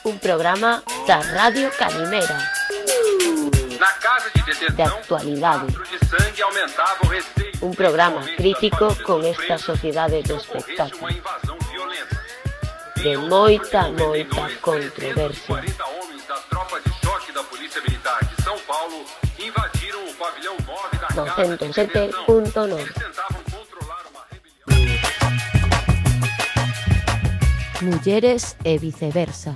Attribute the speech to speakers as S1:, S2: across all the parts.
S1: Un programa da Radio Calimera. De actualidade. Un programa crítico con esta sociedade do espectáculo. De moita controversia. 907.9. Mulleres e viceversa.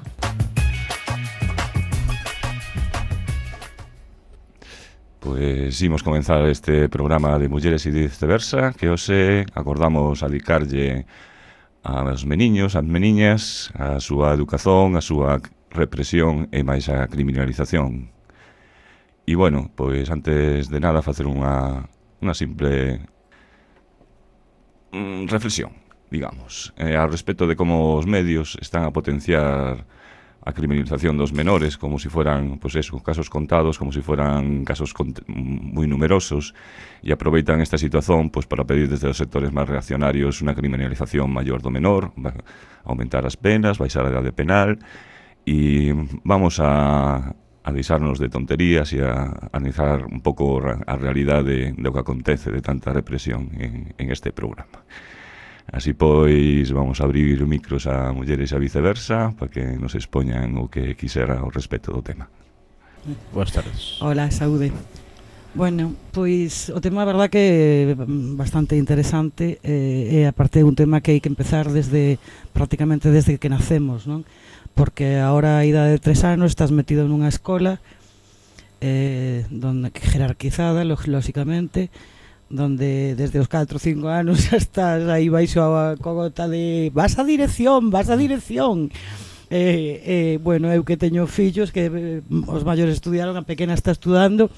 S2: Pois imos comenzar este programa de Mulleres e viceversa, que hoxe acordamos adicarlle aos meniños, ás meniñas, a súa educación, a súa represión e máis a criminalización. E bueno, pois antes de nada facer unha simple reflexión, digamos, ao respecto de como os medios están a potenciar a criminalización dos menores como si fueran, pois eso, casos contados, como si fueran casos moi numerosos, e aproveitan esta situación pois para pedir desde os sectores máis reaccionarios unha criminalización maior do menor, aumentar as penas, baixar a idade penal, e vamos a deixarnos de tonterías e a analizar un pouco a realidade do que acontece de tanta represión en este programa. Así pois vamos a abrir micros a mulleres e a viceversa para que nos expoñan o que quixera ao respecto do tema.
S3: Boas tardes.
S4: Hola, saúde. Bueno, pois o tema a verdad que é bastante interesante e aparte é un tema que hai que empezar prácticamente desde que nacemos, non? Porque agora a idade de 3 anos estás metido nunha escola donde jerarquizada, lógicamente, donde desde os 4 ou 5 anos xa estás aí baixo a cogota de vas a dirección. Bueno, eu que teño fillos que os maiores estudiaron, a pequena está estudando,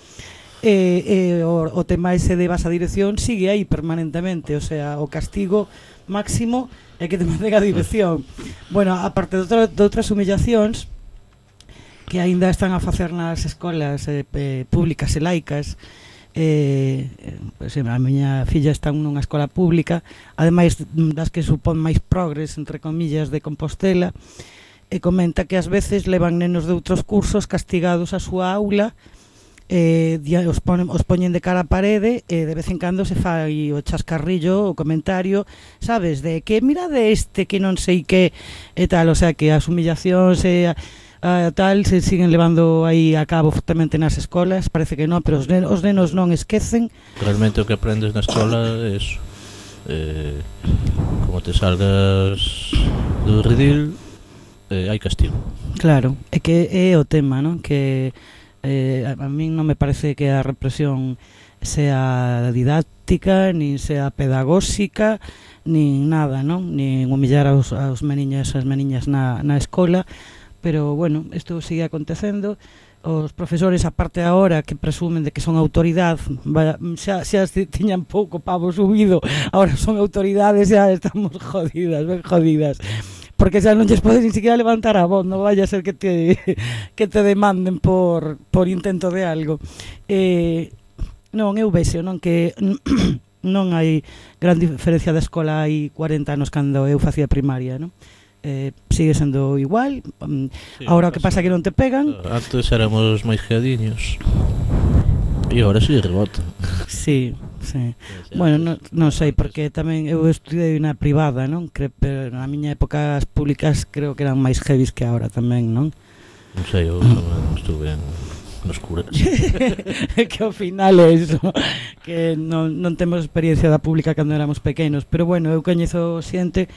S4: o tema ese de vas a dirección sigue aí permanentemente, o sea, o castigo máximo é que te manden a dirección. Bueno, aparte de outras humillacións que aínda están a facer nas escolas públicas e laicas, pues, a miña filla está nunha escola pública, ademais das que supón máis progres, entre comillas, de Compostela, e comenta que ás veces levan nenos de outros cursos castigados a súa aula, os poñen de cara a parede e de vez en cando se fai o chascarrillo, o comentario, sabes, de que mira de este que non sei que e tal, o sea que as humillacións e tal se siguen levando aí a cabo fortemente nas escolas, parece que non, pero os nenos non esquecen.
S3: Realmente o que aprendes na escola é eso, como te salgas do redil, hai castigo.
S4: Claro, é que é o tema, non? Que a min non me parece que a represión sea didáctica, nin sea pedagóxica, nin nada, non? Nin humillar aos meniños e as meniñas na escola. Pero, bueno, isto sigue acontecendo. Os profesores, aparte agora, que presumen de que son autoridade, xa tiñan pouco pavo subido, agora son autoridades, xa estamos ben jodidas. Porque xa non lles podes ni siquiera levantar a voz, non vaya a ser que te demanden por intento de algo. Non, eu vexo, non, que non hai gran diferencia da escola hai 40 anos cando eu facía primaria, non? Sigue sendo igual. Ahora o que pasa é que non te pegan.
S3: Antes éramos máis geadiños e agora si rebota.
S4: Sí. Bueno, non sei, porque tamén eu estudei na privada, non? Pero na miña época as públicas creo que eran máis heavies que agora tamén, non?
S3: Non sei, eu tamén estuve nos curas.
S4: Que ao final é iso, que non temos experiencia da pública cando éramos pequenos, pero bueno, eu coñezo xente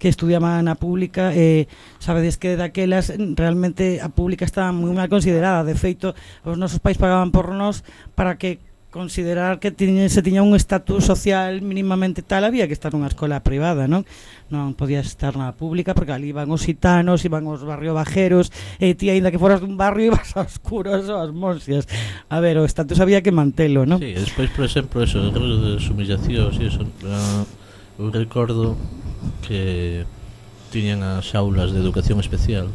S4: que estudiaba na pública e sabedes que daquelas realmente a pública estaba moi mal considerada. De feito, os nosos pais pagaban por nós para que considerar que se tiña un estatus social mínimamente tal, había que estar nunha escola privada, non? Non podías estar na pública porque ali iban os gitanos, iban os barrio bajeros, e ti, aínda que foras dun barrio, ibas aos curos ou ás monxias. A ver, o estatus había que mantelo, non?
S3: Sí, despois, por exemplo, eso, as humillacións e eso, eu recordo que tiñan as aulas de educación especial,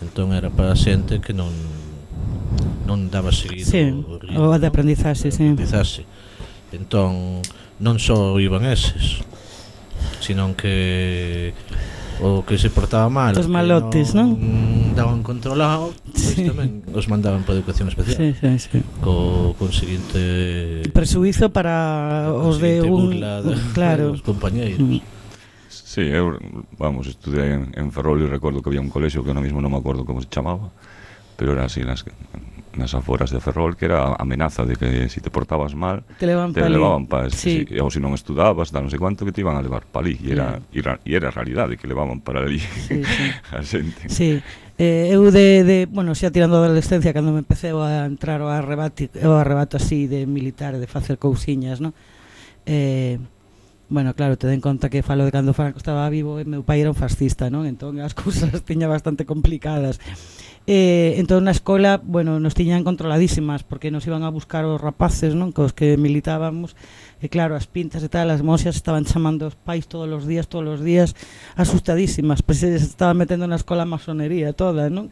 S3: entón era para xente que non daba seguido,
S4: sí, o de aprendizaxe, sí.
S3: Entón non só iban eses, senón que o que se portaba mal,
S4: Os malotes, non?
S3: Daban controlado, pois
S4: Sí.
S3: tamén os mandaban para educación especial.
S4: Sí, sí, sí.
S3: Con seguinte
S4: Presuizo para os de
S3: burla
S4: claro.
S3: dos compañeiros.
S2: Sí, eu, vamos, estudei en Ferrol e recordo que había un colexio que ahora mismo non me acordo como se chamaba, pero era así nas aforas de Ferrol, que era a amenaza de que se te portabas mal
S4: Te levan
S2: te
S4: pa ali.
S2: levaban pa
S4: Sí.
S2: ou se non estudabas, non sei cuánto, que te iban a levar pa ali, e era a realidade que levaban para ali
S4: Sí, sí.
S2: a xente.
S4: Sí, eu bueno, xa tirando a adolescencia, cando me empecé a entrar ao arrebato así de militar, de facer cousiñas, non? Bueno, claro, te den conta que falo de cando Franco estaba vivo e meu pai era un fascista, non? Entón as cousas tiña bastante complicadas. Entón na escola, bueno, nos tiñan controladísimas porque nos iban a buscar os rapaces, non? Cos que militábamos, e claro, as pintas e tal, as monxas estaban chamando os pais todos os días, asustadísimas, pois se estaban metendo na escola a masonería toda, non?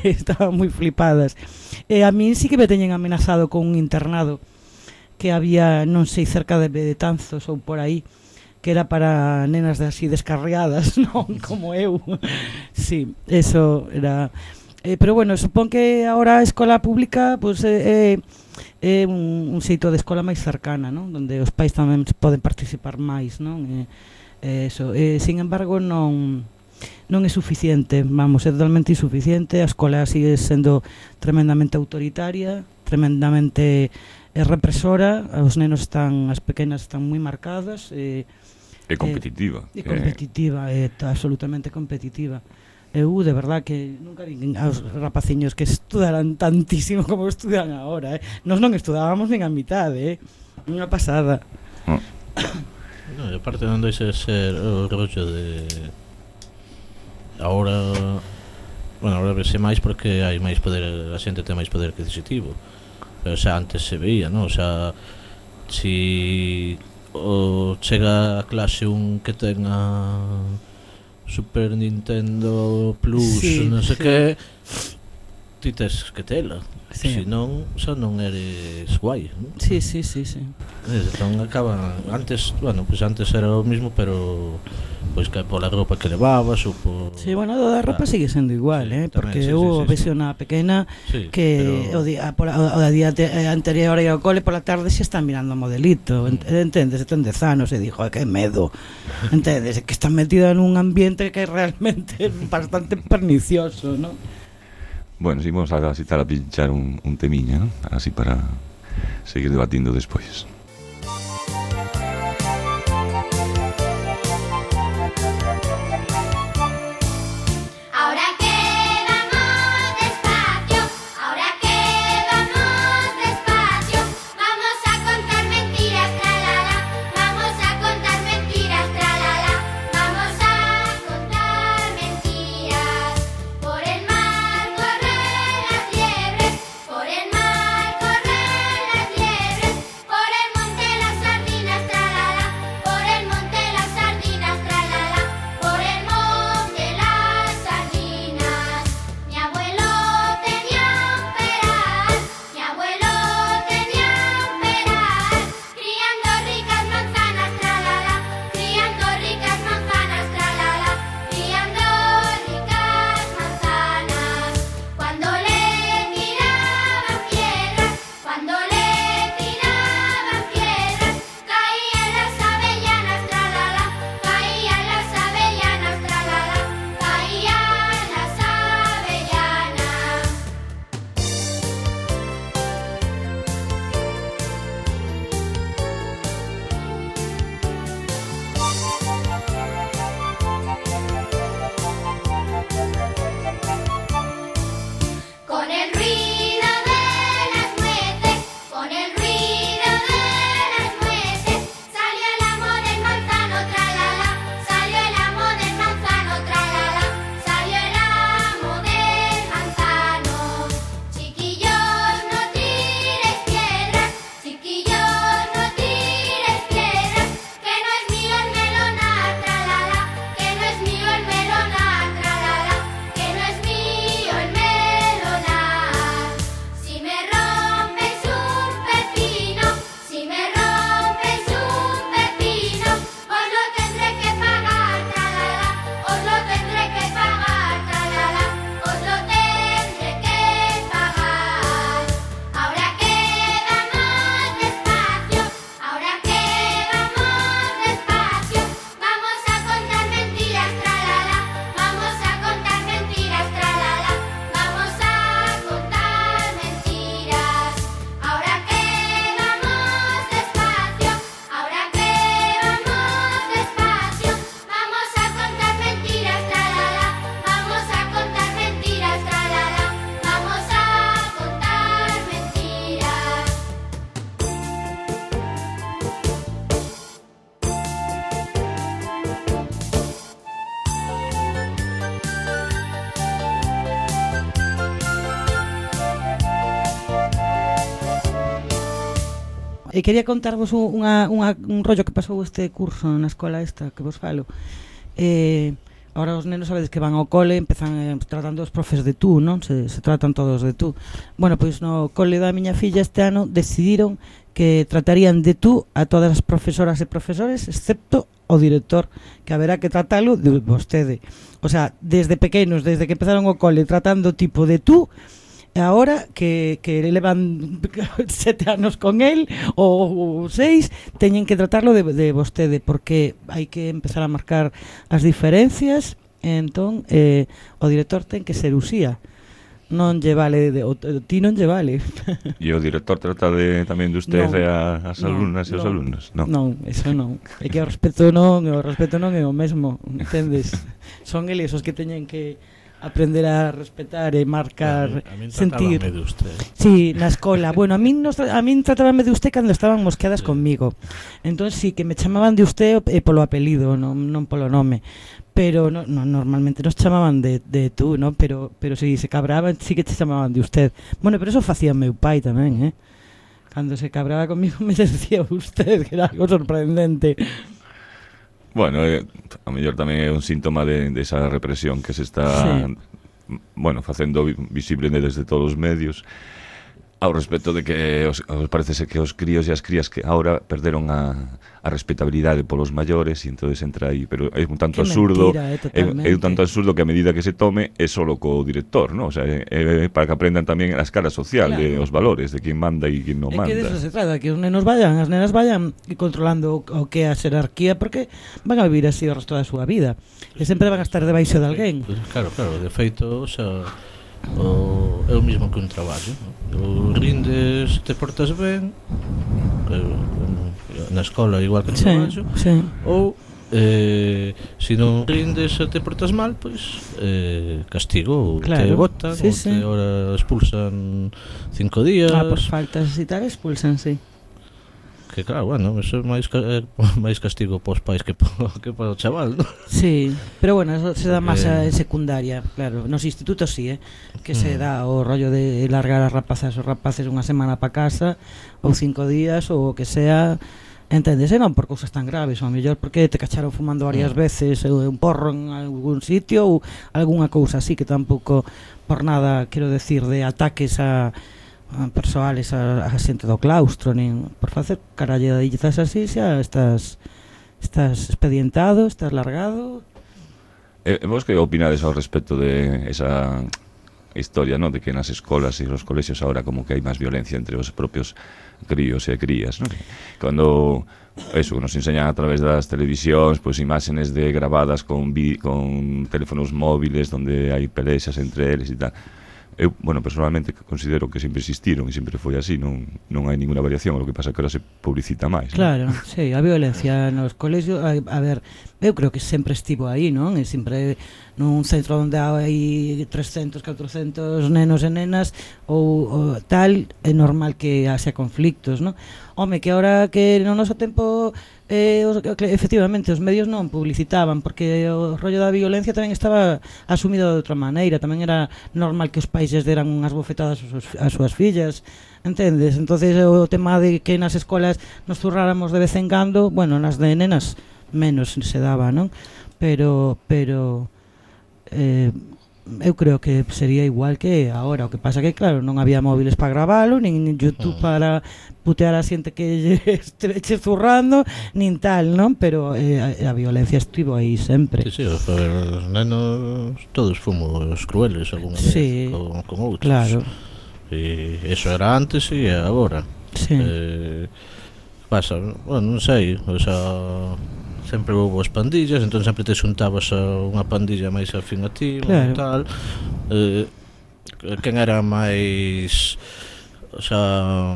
S4: Estaban moi flipadas. A min sí que me teñen amenazado con un internado que había, non sei, cerca de Betanzos ou por aí, que era para nenas de así descarriadas, non? Como eu. Sí, eso era... pero bueno, supón que ahora a escola pública pues, é un xeito de escola máis cercana, non? Donde os pais tamén poden participar máis, non? Eso. Sin embargo, non é suficiente, vamos, é totalmente insuficiente. A escola sigue sendo tremendamente autoritaria, tremendamente represora, as pequenas están moi marcadas,
S2: É competitiva.
S4: É competitiva, absolutamente competitiva. Eu, de verdad, que nunca vi aos rapaciños que estudaran tantísimo como estudan agora, Nos non estudábamos nin a mitade, Unha pasada.
S3: No, e aparte non deixa de ser o rollo de... Ahora vese máis porque hai máis poder, a xente ten máis poder adquisitivo. Pero xa antes se veía, non? O sea, si chega a clase un que tenga Super Nintendo Plus,
S4: Sí,
S3: non sei
S4: sí.
S3: que, ti tes que tela.
S4: Sí.
S3: Se non, xa non eres guai, non?
S4: Sí.
S3: Entón acaba antes, bueno, pues antes era o mismo, pero pois que pola roupa que levabas ou por...
S4: Sí, bueno, o da roupa sigue sendo igual,
S3: Sí,
S4: porque
S3: tamén, sí,
S4: eu
S3: sí,
S4: vexo na pequena
S3: Sí,
S4: que
S3: pero-
S4: o día anterior ao cole pola tarde xa está mirando o modelito, entendes, ten 10 anos e dixo, que medo, entendes, que está metida nun ambiente que é realmente bastante pernicioso, non?
S2: Bueno, si vamos a citar a pinchar un temiña, ¿no? Así para seguir debatindo despois.
S5: Ahora que vamos despacio, ahora que vamos despacio, vamos a contar mentiras, tralala, vamos a contar mentiras, tralala, vamos a contar mentiras. Por el mar corren las liebres, por el mar corren las liebres, por el
S4: E quería contarvos un rollo que pasou este curso na escola esta que vos falo. Ahora os nenos sabedes que van ao cole, empezan tratando os profes de tú, non? Se tratan todos de tú. Bueno, pois no cole da miña filla este ano decidiron que tratarían de tú a todas as profesoras e profesores, excepto o director, que haberá que tratalo de vostede. O sea, desde pequenos, desde que empezaron o cole tratando tipo de tú, ahora que levan 7 anos con él ou 6, teñen que tratarlo de vostede, porque hai que empezar a marcar as diferencias. Entón o director ten que ser Uxía, non lle vale ti non lle vale.
S2: E o director trata tamén de usted e as alumnas e os alumnos?
S4: Non, eso non. É que o respeto non é o mesmo, entendes? Son eles os que teñen que aprender a respetar e marcar,
S3: a min
S4: sentir.
S3: tratábame de usted.
S4: Sí, na escola. Bueno, a min tratábame de usted cando estaban mosqueadas comigo. Entón sí que me chamaban de usted polo apelido, non polo nome. Pero normalmente nos chamaban de tú, ¿no? Pero si se cabraban, sí que te chamaban de usted. Bueno, pero eso facía meu pai tamén, ¿eh? Cando se cabraba comigo me decía usted, que era algo sorprendente.
S2: Bueno, a mellor tamén é un síntoma de esa represión que se está facendo visible desde todos os medios, ao respecto de que parece ser que os críos e as crías que ahora perderon a respetabilidade polos maiores, e entonces entra aí, pero é un tanto absurdo, é un tanto absurdo que a medida que se tome é solo co director, ¿no? O sea, é para que aprendan tamén a escala social, claro, de os valores, de quen manda e quen non manda.
S4: É que de eso se trata, que os nenos as nenas vayan controlando o que é a xerarquía, porque van a vivir así o resto da súa vida, e sempre van a estar debaixo de alguén.
S3: Claro, de feito, o sea, é o mismo que un traballo, o rindes, te portas ben na escola igual que no traballo, ou se non rindes e te portas mal, pois castigo, claro, te botan, ou te ahora expulsan 5 días.
S4: Por faltas e tal expulsan, sí.
S3: Que claro, bueno, eso é máis castigo pos pais que para o chaval, ¿no?
S4: Sí, pero bueno, eso se dá máis en secundaria, claro. Nos institutos sí, que se dá o rollo de largar as rapazas os rapaces unha semana pa casa, ou 5 días, ou o que sea, entendes? Non por cousas tan graves, ou mellor porque te cacharon fumando varias veces un porro en algún sitio, ou algunha cousa así, que tampouco por nada, quero decir, de ataques a persoales a xente do claustro, nin por facer caralladizas así, xa estás expedientado, estás largado.
S2: Vos que opinades ao respecto de esa historia, ¿no? De que nas escolas e nos colexios ahora como que hai máis violencia entre os propios críos e crías, ¿no? Cando eso nos enseñan a través das televisións, pois imágenes de grabadas con teléfonos móviles donde hai pelexas entre eles e tal. Eu, bueno, personalmente considero que sempre existiron e sempre foi así, non hai ninguna variación, o que pasa que ahora se publicita máis.
S4: Claro,
S2: ¿no?
S4: sí, a violencia nos colexios, a ver, eu creo que sempre estivo aí, non? E sempre nun centro onde hai 300, 400 nenos e nenas ou tal, é normal que haxa conflictos, non? Home, que ahora que no noso tempo efectivamente os medios non publicitaban, porque o rollo da violencia tamén estaba asumido de outra maneira, tamén era normal que os pais deran unhas bofetadas ás súas fillas, entendes? Entonces o tema de que nas escolas nos zurráramos de vez en cando, bueno, nas de nenas menos se daba, non? Pero eu creo que sería igual que agora. O que pasa que, claro, non había móviles para gravalo, nin YouTube para putear a xente que esteveche zurrando, nin tal, non? Pero a violencia estivo aí sempre.
S3: Sí, os nenos todos fomos crueles algunha vez con outros.
S4: Claro.
S3: E eso era antes e agora.
S4: Sí.
S3: Pasa, bueno, non sei, o sea, sempre houve as pandillas, entón sempre te xuntabas a unha pandilla máis afín a ti, claro, tal. Quen era máis, o sea,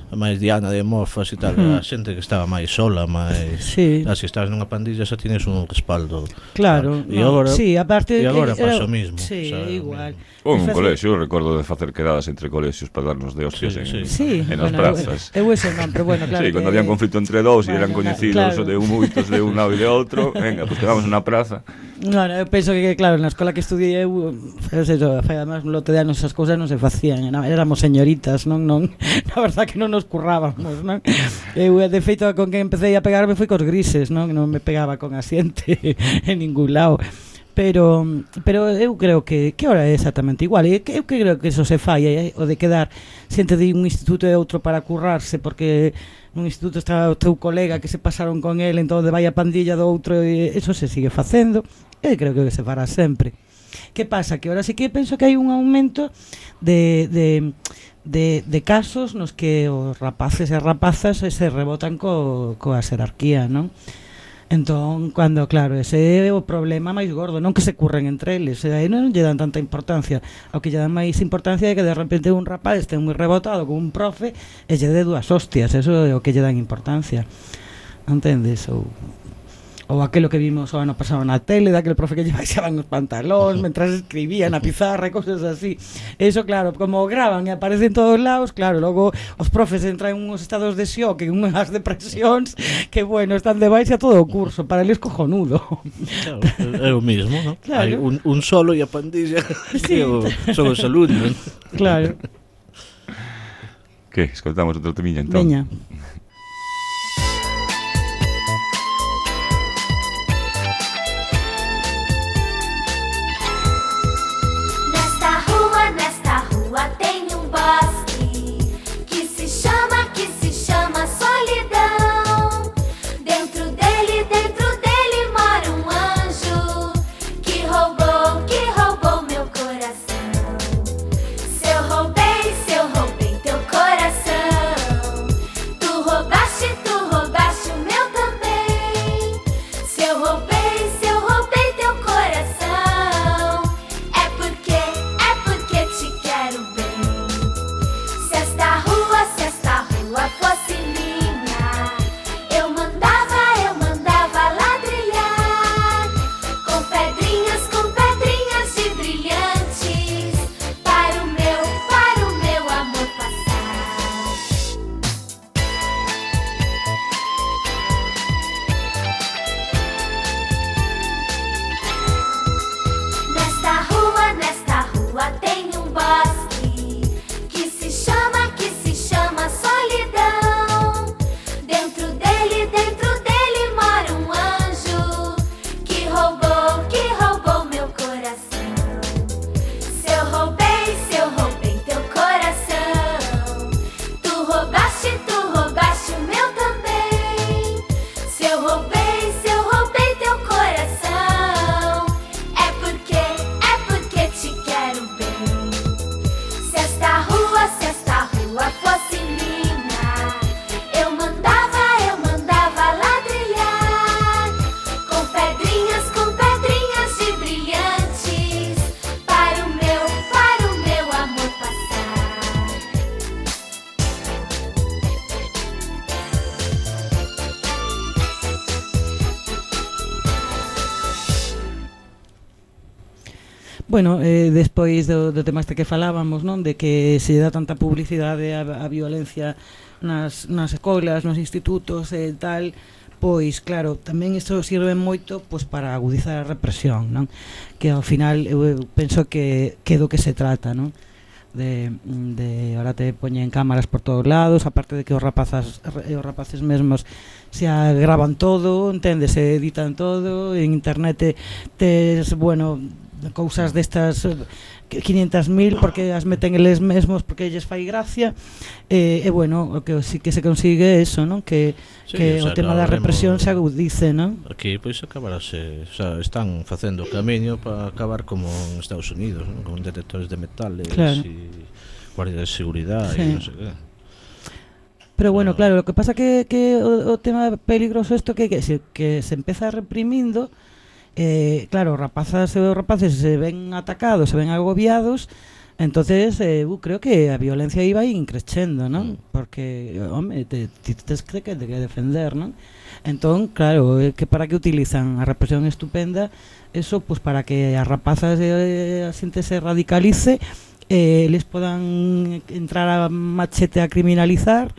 S3: máis diana de mofas e tal, a xente que estaba máis sola, máis...
S4: Sí.
S3: Se estabas nunha pandilla xa tienes un respaldo.
S4: Claro.
S3: E agora,
S4: sí, aparte
S3: agora pasa o mismo.
S4: Sí, o sea, igual.
S2: Ou un colexio, recordo de facer quedadas entre colexios para darnos de hostias en as prazas.
S4: Eu eso non, pero bueno, claro.
S2: Sí, cando había un conflito entre dous e eran coñecidos de moitos de un lado e de outro, venga, pues quedamos na praza.
S4: Non, eu penso que, claro, na escola que estudiei eu, además, un lote de anos esas cousas non se facían, éramos señoritas, non, na verdad que non nos nos currábamos, non? Eu, de feito, con que empecé a pegarme foi cos grises, non? Non me pegaba con a xente en ningún lado. Pero eu creo que ahora é exactamente igual. Eu creo que eso se fai, o de quedar xente de un instituto e outro para currarse, porque nun instituto está o teu colega que se pasaron con el, entón vai a pandilla do outro, e eso se sigue facendo, e creo que se fará sempre. Que pasa? Que ahora sí que penso que hai un aumento de casos nos que os rapaces e rapazas se rebotan coa xerarquía, non? Entón, cando, claro, ese é o problema máis gordo, non que se curren entre eles, aí non lle dan tanta importancia. Ao que lle dan máis importancia é que de repente un rapaz este moi rebotado con un profe e lle dé dúas hostias, eso é o que lle dan importancia, entendes? Ou aquilo que vimos o ano pasado na tele, daquele profe que lle baixaban os pantalóns mentras escribía na pizarra e cosas así. Eso, claro, como graban e aparecen todos lados, claro, logo os profes entran en uns estados de shock, en unhas depresións, que, bueno, están de baixa todo o curso, para eles cojonudo.
S3: Claro, é o mismo, ¿no?
S4: Claro.
S3: Hai un solo e a pandilla
S4: Sí.
S3: que son os alumnos.
S4: Claro.
S2: Que, escoltamos outro temiña, entón.
S4: Veña.
S5: Nesta rua tem um bosque que se chama solidão. Dentro dele mora um anjo que roubou meu coração. Se eu roubei teu coração, tu roubaste o meu também. Se eu roubei teu coração, é porque te quero bem. Se esta rua fosse minha, eu mandava ladrilhar com pedrinhas de brilhantes para o meu amor passar. Nesta rua tem um bosque que se chama solidão. Dentro dele mora um anjo que roubou meu coração. Se eu roubei teu coração, tu roubaste o meu também. Se eu roubei teu coração, é porque te quero bem. Se esta rua fosse minha, eu mandava ladrilhar com pedrinhas de brilhantes para o meu amor passar.
S4: Bueno, despois do tema este que falábamos, non? De que se dá tanta publicidade a violencia nas escolas, nos institutos e tal, pois claro, tamén isto sirve moito pois para agudizar a represión, non? Que ao final eu penso que do que se trata, non? De ahora te poñen cámaras por todos lados, aparte de que os rapaces mesmos se gravan todo, entendes, se editan todo, en internet tes, bueno, cousas destas 500.000 porque as meten eles mesmos porque lles fai gracia, e bueno, o que sí que se consigue é eso, non? Que o tema da represión se agudice, non?
S3: Aquí pois acabarase, o sea, están facendo o camiño para acabar como en Estados Unidos, ¿no? Con detectores de metales,
S4: claro,
S3: e guardias de seguridade,
S4: sí,
S3: e non sei que.
S4: Pero bueno, claro, lo que pasa que o tema peligroso isto que se empeza reprimindo. Claro, rapazas e rapaces se ven atacados, se ven agobiados, entonces creo que a violencia iba increchendo, non? Porque, home, tes que defender, non? Entón, claro, que para que utilizan a represión estupenda, eso, pues para que as rapazas a xente se radicalice, les podan entrar a machete a criminalizar,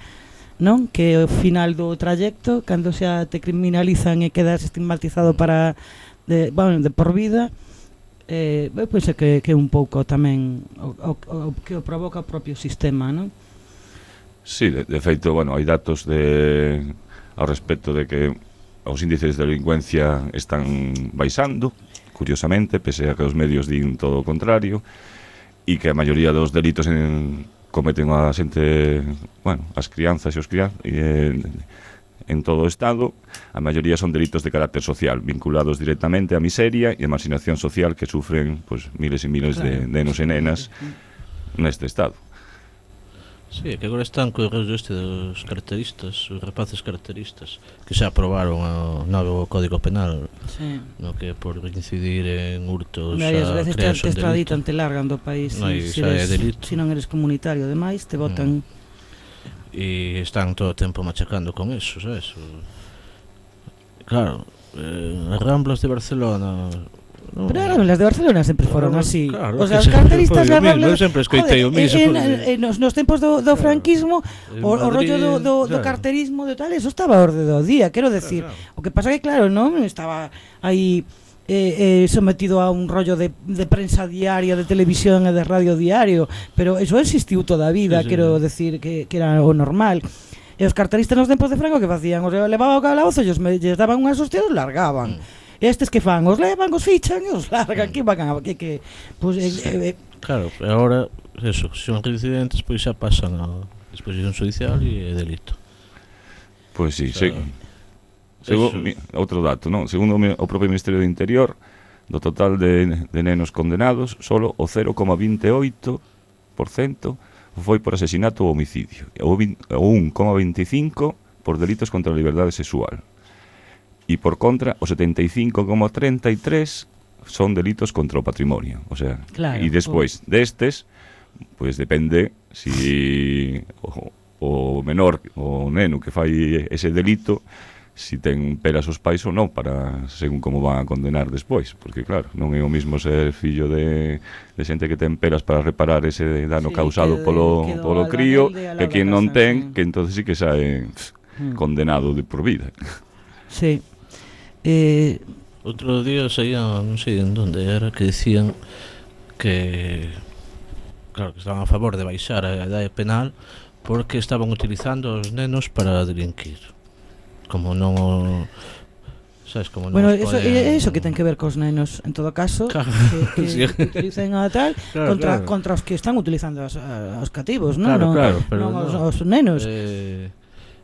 S4: non? Que ao final do trayecto, cando xa te criminalizan e quedas estigmatizado para de por vida, pois é que un pouco tamén o que o provoca o propio sistema, non?
S2: Sí, de feito, bueno, hai datos ao respecto de que os índices de delincuencia están baixando, curiosamente, pese a que os medios din todo o contrario, e que a maioría dos delitos cometen a xente, bueno, as crianzas e os crianzas, en todo o Estado, a maioría son delitos de carácter social, vinculados directamente á miseria e a marginación social que sufren pues, miles e miles de nenos e nenas neste Estado.
S3: Sí, que agora están co rollo este dos carteristas, os rapaces carteristas, que xa aprobaron o novo Código Penal, no que por incidir en hurtos
S4: Varias veces te
S3: creas un delito.
S4: extraditan, te largan do país
S3: Aí xa é delito.
S4: se non eres comunitario, ademais te botan.
S3: E están todo o tempo machacando con eso, sabes? Claro, as Ramblas de Barcelona... No.
S4: Pero las de Barcelona sempre foron así.
S3: Claro,
S4: O sea, os carteristas das Ramblas...
S3: Eu sempre escoitei o mismo.
S4: Nos tempos do franquismo, o rollo do carterismo de tal, eso estaba a orde do día, quero decir. O que pasa que, claro, non estaba aí sometido a un rollo de prensa diaria, de televisión e de radio diario, pero eso existiu toda a vida, quero decir que era o normal. E os carteristas nos tempos de Franco que facían? Os levaban ao calabozo, ellos daban unhas hostias e os largaban. Estes que fan, os levan, os fichan e os largan, que van a pues,
S3: claro, agora eso, se son reincidentes, pois xa pasan a disposición judicial e é delito.
S2: Pois sí, outro dato, non? Segundo o propio Ministerio do Interior, do total de nenos condenados, solo o 0,28% foi por asesinato ou homicidio, o 1,25% por delitos contra a liberdade sexual. E por contra, o 75,33% son delitos contra o patrimonio. O sea,
S4: claro,
S2: e despois destes, pois depende si o menor, o neno que fai ese delito, si ten peras os pais ou non, para según como van a condenar despois. Porque claro, non é o mismo ser fillo de xente que ten peras para reparar ese dano causado polo crío, que quen non ten, que entonces sí que sae condenado de por vida.
S4: Sí.
S3: Outro día saía, non sei en onde era, que decían que claro, que estaban a favor de baixar a idade penal porque estaban utilizando os nenos para delinquir, como non sabes, como
S4: bueno, eso que ten que ver cos nenos en todo caso,
S3: claro,
S4: que utilicen a tal contra os que están utilizando os cativos, non?
S3: Claro, pero
S4: os nenos.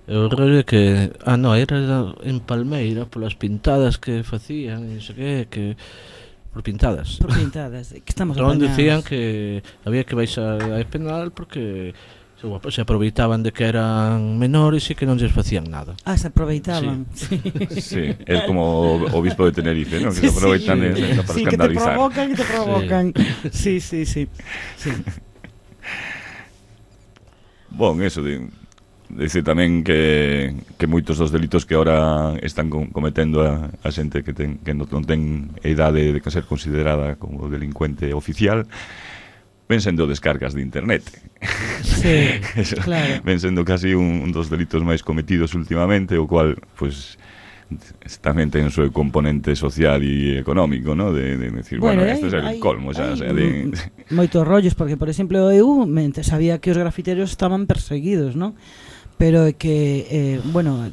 S3: O rollo que era en Palmeira polas pintadas que facían, non sei que por pintadas,
S4: que estamos
S3: apañados.
S4: Decían
S3: que había que baixar a penal porque se aproveitaban de que eran menores e que non lles facían nada.
S4: Se aproveitaban.
S2: Sí, é como o obispo de Tenerife, ¿no? Que se aproveitan para escandalizar.
S4: Que te provocan. Sí.
S2: Bon, eso dice tamén que moitos dos delitos que ahora están cometendo a xente que non ten idade de ser considerada como delincuente oficial ven sendo descargas de internet.
S4: Sí, claro.
S2: Ven sendo casi un dos delitos máis cometidos últimamente, o cual, pues, tamén ten o seu componente social e económico, ¿no? De decir, bueno, este é el colmo, xa, o sea, de
S4: moitos rollos, porque, por exemplo, eu sabía que os grafiteros estaban perseguidos, ¿no? Pero que,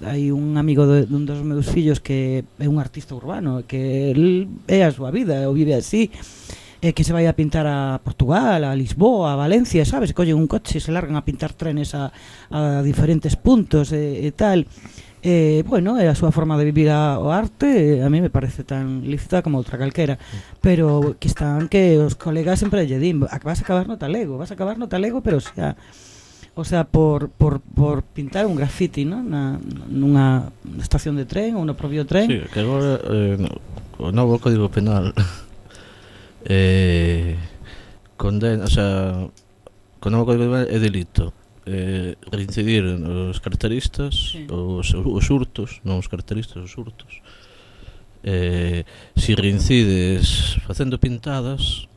S4: hai un amigo dun dos meus fillos que é un artista urbano, que el é a súa vida, ou vive así, que se vai a pintar a Portugal, a Lisboa, a Valencia, sabes? Collen un coche e se largan a pintar trenes a diferentes puntos e tal. É a súa forma de vivir o arte, a mí me parece tan lícita como outra calquera, pero que os colegas sempre lle din, vas a acabar no talego, pero o sea, por pintar un grafiti, ¿no? Nunha estación de tren ou no propio tren.
S3: Sí, que agora o novo Código Penal condena, o sea, co novo Código Penal é delito reincidir os carteristas, sí. os hurtos, non os carteristas, os hurtos. Si reincides facendo pintadas,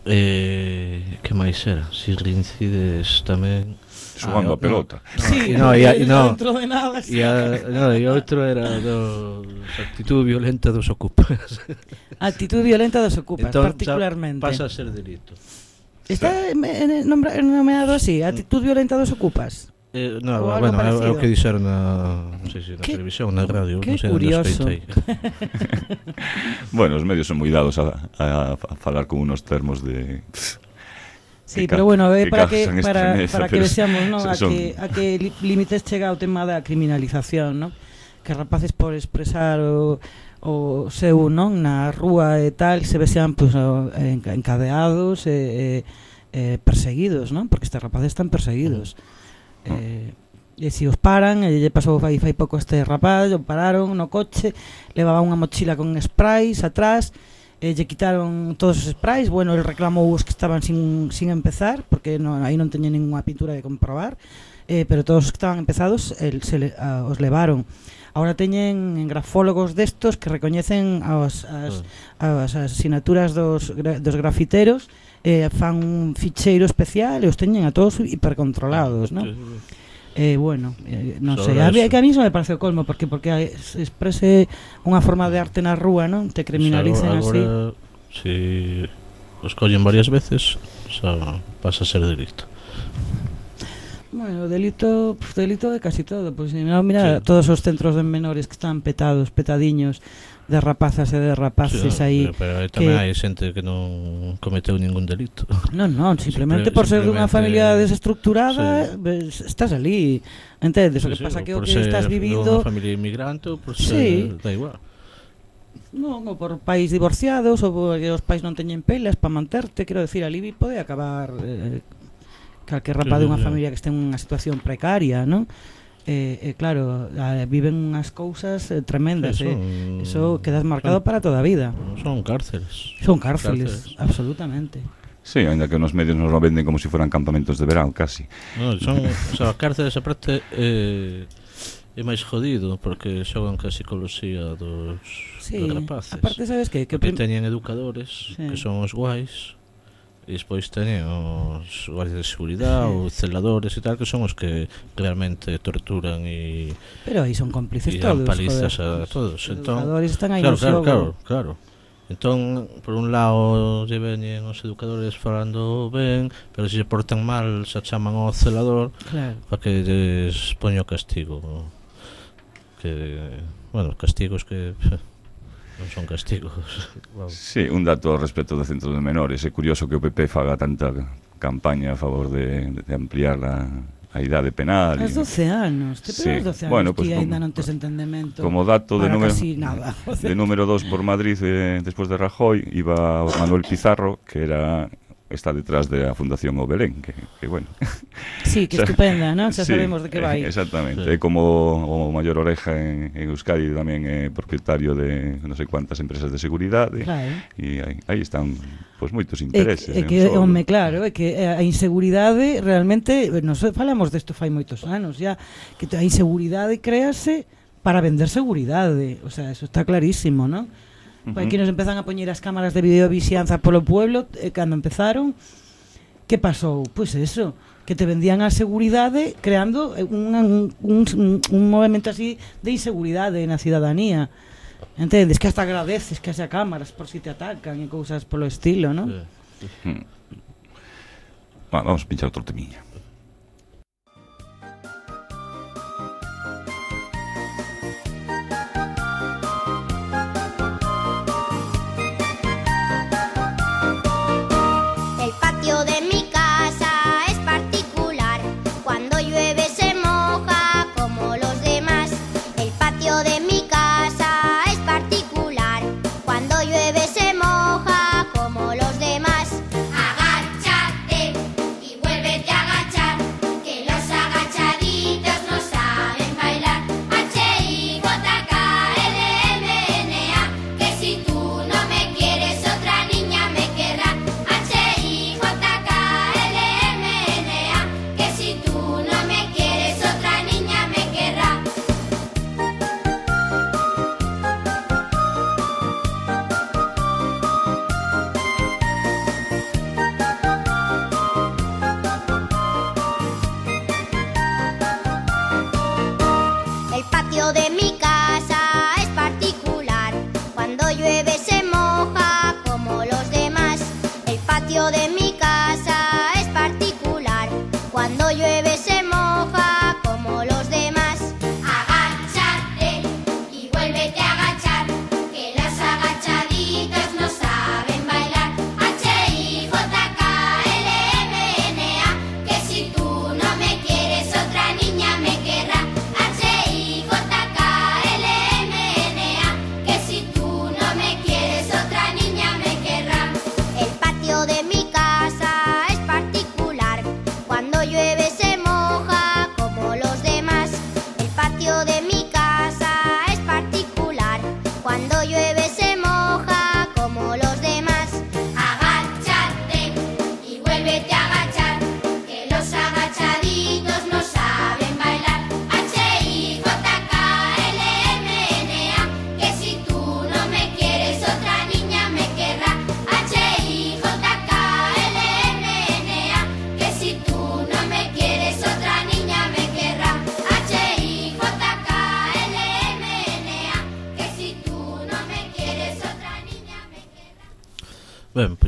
S3: que máis era? Si reincides tamén
S2: xogando a pelota.
S4: Sí, dentro de nada.
S3: E outro era actitud violenta dos ocupas.
S4: Actitud violenta dos ocupas,
S3: entón,
S4: particularmente.
S3: Pasa a ser delito.
S4: Está nomeado así, actitud violenta dos ocupas.
S3: No,
S4: Ou algo
S3: bueno, é
S4: parecido.
S3: o que dixeron non sei se na televisión, na radio,
S4: Que
S3: non sei onde
S4: curioso.
S3: escoitei.
S2: Bueno, os medios son moi dados a falar con unos termos de...
S4: Sí,
S2: que
S4: pero bueno,
S2: que
S4: para
S2: causan estremeza,
S4: para que
S2: pero
S4: vexamos, ¿no?
S2: son-
S4: A que límites chega o tema da criminalización, ¿no? Que rapaces por expresar o seu, non, na rúa e tal, se vexan pues, encadeados e perseguidos, non? Porque estes rapaces están perseguidos. E se os paran, lle pasou fai pouco a este rapaz, o pararon no coche, levaba unha mochila con sprays atrás, lle quitaron todos os sprays, bueno, el reclamou os que estaban sin empezar, porque aí non teñen ninguna pintura de comprobar, pero todos os que estaban empezados os levaron. Ahora teñen grafólogos destos que recoñecen as asinaturas dos grafiteros, fan un ficheiro especial e os teñen a todos hipercontrolados, non? Bueno, non sei, a mí iso me parece o colmo porque se exprese unha forma de arte na rúa, non? Te criminalicen así.
S3: Agora, si os collen varias veces, xa pasa a ser delito.
S4: Bueno, delito de casi todo, pois mira,
S3: Sí.
S4: todos os centros de menores que están petadiños de rapazas e de rapaces aí.
S3: Pero tamén hai xente que non cometeu ningún delito.
S4: Non, simplemente por ser dunha familia desestructurada, estás ali, entendes? O que pasa que o que estás vivindo,
S3: unha familia inmigrante ou por
S4: Sí.
S3: ser, da igual.
S4: non, ou por pais divorciados, ou porque os pais non teñen pelas para manterte, quero decir, ali pode acabar calquer rapaz
S3: Sí,
S4: dunha
S3: sí.
S4: familia que este en unha situación precaria, non? Claro, viven unhas cousas tremendas,
S3: Sí,
S4: eso quedas marcado para toda a vida.
S3: Son cárceles.
S4: Son cárceles, absolutamente.
S2: Sí, ainda que nos medios nos lo venden como si fueran campamentos de verán, casi.
S3: No, son, o sea, cárceles aparte é máis jodido porque xogan ca psicología dos rapaces.
S4: Aparte, sabes que
S3: Porque teñen educadores
S4: Sí.
S3: que son os guais e despois teñen os guardias de seguridade ou celadores e tal que son os que realmente torturan e
S4: pero aí son cómplices
S3: dan
S4: todos,
S3: palizas
S4: joder.
S3: a todos.
S4: Os
S3: Entón,
S4: educadores están aí
S3: claro,
S4: no xogo.
S3: claro. Entón, por un lado lle veñen os educadores falando ben, pero se se portan mal xa chaman ao celador
S4: Claro.
S3: para que lles poño castigo. Que, bueno, castigos que non son castigos. Vamos.
S2: Sí, un dato ao respecto do centro de menores. É curioso que o PP faga tanta campaña a favor de ampliar a idade penal.
S4: As 12 anos,
S2: Sí.
S4: os 12 anos
S2: Bueno,
S4: que
S2: pues
S4: ainda non tes entendemento.
S2: Como dato de
S4: para
S2: número
S4: casi nada.
S2: de número 2 por Madrid despois de Rajoy iba Manuel Pizarro, que está detrás de a Fundación O Belén, que bueno.
S4: Sí, que estupenda, non? Xa
S2: Sí,
S4: sabemos de que vai.
S2: Exactamente.
S3: Sí.
S2: É como o maior oreja en Euskadi, tamén é propietario de non sei cuántas empresas de seguridade.
S4: Claro.
S2: E aí están pois moitos intereses.
S4: É que, home, claro, é que a inseguridade realmente, nos falamos desto fai moitos anos ya, que a inseguridade créase para vender seguridade, o sea, eso está clarísimo, non? Aquí nos empezan a poñer as cámaras de videovixianza polo pueblo, cando empezaron, que pasou? Pois eso, que te vendían a seguridade creando un movimento así de inseguridade na cidadanía. Entendes? Que hasta agradeces que haxa cámaras por si te atacan e cousas polo estilo, non?
S3: Sí.
S2: Vamos a pinchar outro temiña.
S5: El patio de mi casa es particular. Cuando llueve se moja como los demás. El patio de mi casa es particular. Cuando llueve se moja como los demás. Agáchate y vuélvete a agachar, que los agachaditos no saben bailar. H-I-J-K-L-M-N-A, que si tú no me quieres otra niña me querrá. H-I-J-K-L-M-N-A, que si tú no me quieres otra niña me querrá. El patio de mi casa es particular. Cuando llueve se moja como los demás. El patio de mi casa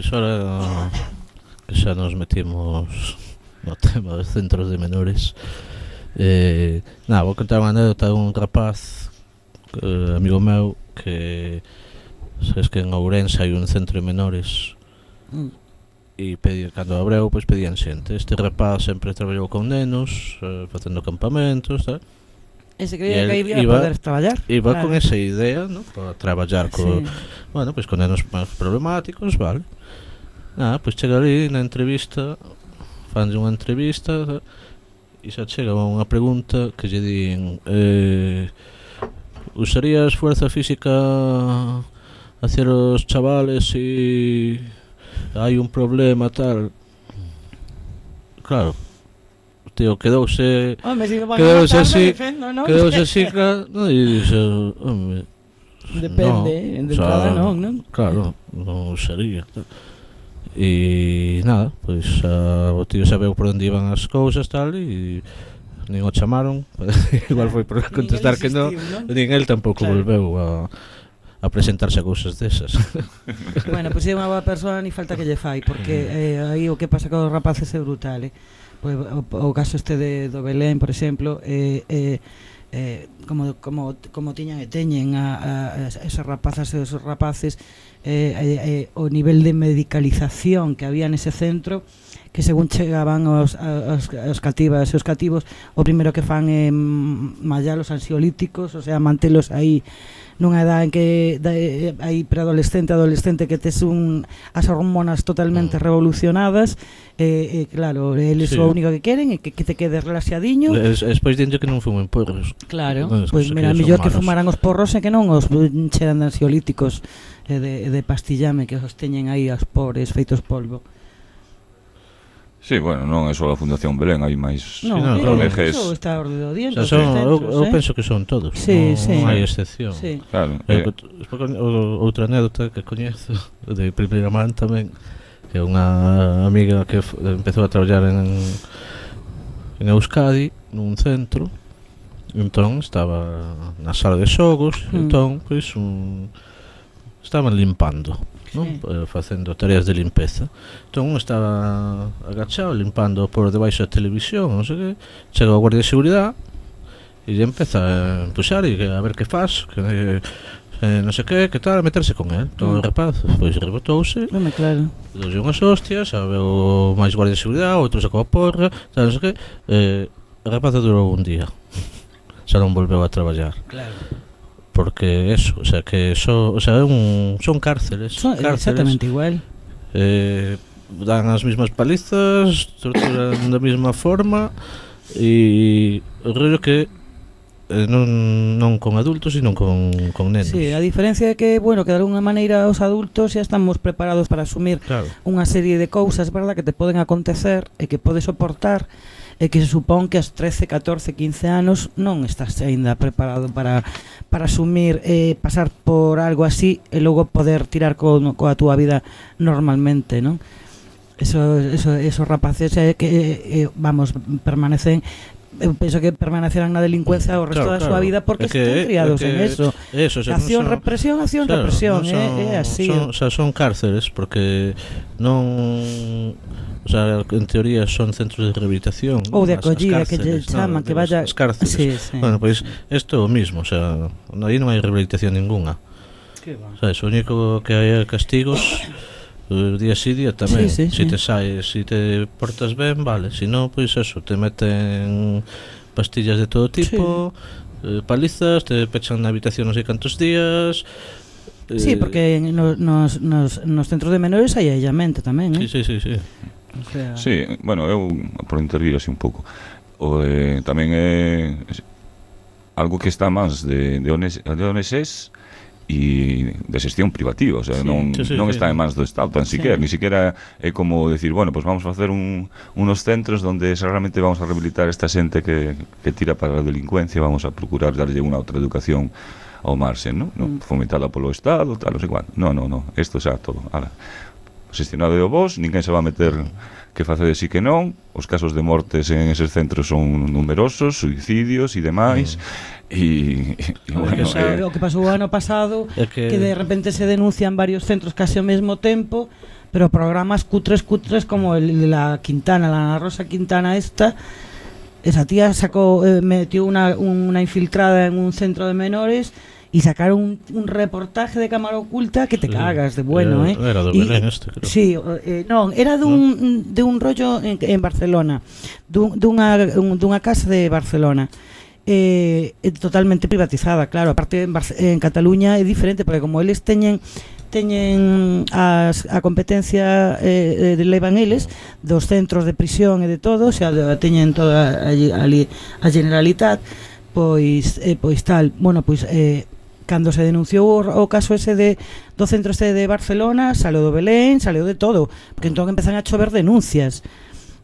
S3: pois ahora que xa nos metimos no tema dos centros de menores, vou contar unha anécdota de un rapaz, amigo meu, que sabes que en Ourense hai un centro de menores e cando abreu, pois pedían xente. Este rapaz sempre traballou con nenos, facendo campamentos, tal.
S4: E se creía que iba a poder traballar.
S3: Iba con esa idea, ¿no? Para traballar bueno, pues con nenos máis problemáticos, vale. Pues chega ali na entrevista, fanlle unha entrevista e xa chega unha pregunta que lle din usarías fuerza física hacia os chavales si hai un problema tal. Claro, tío, quedouse así, no, e dixe, home,
S4: depende, de cada non?
S3: Claro, non usaría. E nada, pois o tío sabeu por onde iban as cousas tal e nin o chamaron. Igual foi por contestar que non, nin el tampouco volveu a presentarse a cousas desas.
S4: Bueno, pois é unha boa persoa, ni falta que lle fai, porque aí o que pasa con os rapaces é brutal, Pois, o caso este do Belén, por exemplo, como tiñan e teñen a esas rapazas e esos rapaces, o nivel de medicalización que había nese centro, que según chegaban os cativas e os cativos, o primeiro que fan é mallalos ansiolíticos, o sea, mantelos aí nunha edad en que hai preadolescente, adolescente, que tes as hormonas totalmente revolucionadas, claro, eles o único que queren é que te quedes relaxadiño.
S3: Despois dinte que non fumen porros.
S4: Claro, pois mira, mellor que fumaran os porros e que non os cheran de ansiolíticos e de pastillame que os teñen aí aos pobres feitos polvo.
S2: Sí, bueno, non é só a Fundación Belén, hai máis
S4: ONGs. Eso está a orde do día.
S3: Eu penso que son todos, non hai excepción.
S2: Claro.
S3: Outra anécdota que coñezo de primeira man tamén, que é unha amiga que empezou a traballar en Euskadi, nun centro. Entón estaba na sala de xogos, entón pois estaban limpando, non? Facendo tareas de limpeza. Entón estaba agachado limpando por debaixo da televisión, non sei que. Chega o guardia de seguridade e lle empeza a empuxar e a ver que faz, que non sei que tal, a meterse con el. Entón o rapaz pois rebotouse,
S4: claro,
S3: doulle unhas hostias, veo máis guardia de seguridade, outro sacou a porra, tal, non sei que. O rapaz durou un día, xa non volveu a traballar.
S4: Claro.
S3: Porque eso, o sea, que son cárceles,
S4: exactamente igual.
S3: Dan as mismas palizas, torturan da mesma forma e o rollo que non con adultos, sino con nenos.
S4: Sí, a diferencia é que, bueno, que de alguna maneira os adultos xa estamos preparados para asumir unha serie de cousas, verdad, que te poden acontecer e que podes soportar, e que se supón que aos 13, 14, 15 anos non estás aínda preparado para asumir, pasar por algo así e logo poder tirar coa túa vida normalmente, non? Esos rapaces que, vamos, permanecen, eu penso que permanecerán na delincuencia o resto da súa vida porque están criados en eso. Acción, represión, é así.
S3: Son cárceles porque non... O sea, en teoría son centros de rehabilitación
S4: ou de acollida, que lle chaman, que vaya...
S3: As cárceles. Bueno, pois isto é o mismo, o sea, aí non hai rehabilitación ninguna. O sea, o único que hai é castigos día sí, día tamén. Si te saes, si te portas ben, vale. Si non, pois eso, te meten pastillas de todo tipo, palizas, te pechan na habitación non sei cantos días.
S4: Sí, porque nos centros de menores hai aillamento tamén,
S3: Sí.
S2: O sea... Sí, bueno, eu por intervir así un pouco. Tamén é algo que está máis de ONGs e de xestión privativa, o sea, non está en mans do Estado tan siquiera, ni siquiera é como decir, bueno, pues vamos a facer unos centros donde realmente vamos a rehabilitar esta xente que tira para a delincuencia, vamos a procurar darlle unha outra educación ao marxen, non? Fomentada polo Estado, tal, non sei cuánto. No, isto xa todo, xestionado de vos, ninguén se va a meter que face de sí que non, os casos de mortes en eses centros son numerosos, suicidios e demais, e
S4: bueno, o que pasou o ano pasado, que de repente se denuncian varios centros case ao mesmo tempo, pero programas cutres como el de la Quintana, la Ana Rosa Quintana esta. Esa tía metió una infiltrada en un centro de menores y sacaron un reportaje de cámara oculta que te cagas de bueno,
S3: Era de Belén este, creo.
S4: Sí, no, era de un rollo en Barcelona, dunha casa de Barcelona. Totalmente privatizada, claro. Aparte en Cataluña é diferente, porque como eles teñen a competencia levan eles dos centros de prisión e de todo, o sea, teñen toda ali a Generalitat, pois tal, bueno, pois cando se denunciou o caso ese do centro este de Barcelona, saleu do Belén, saleu de todo, porque entón empezan a chover denuncias,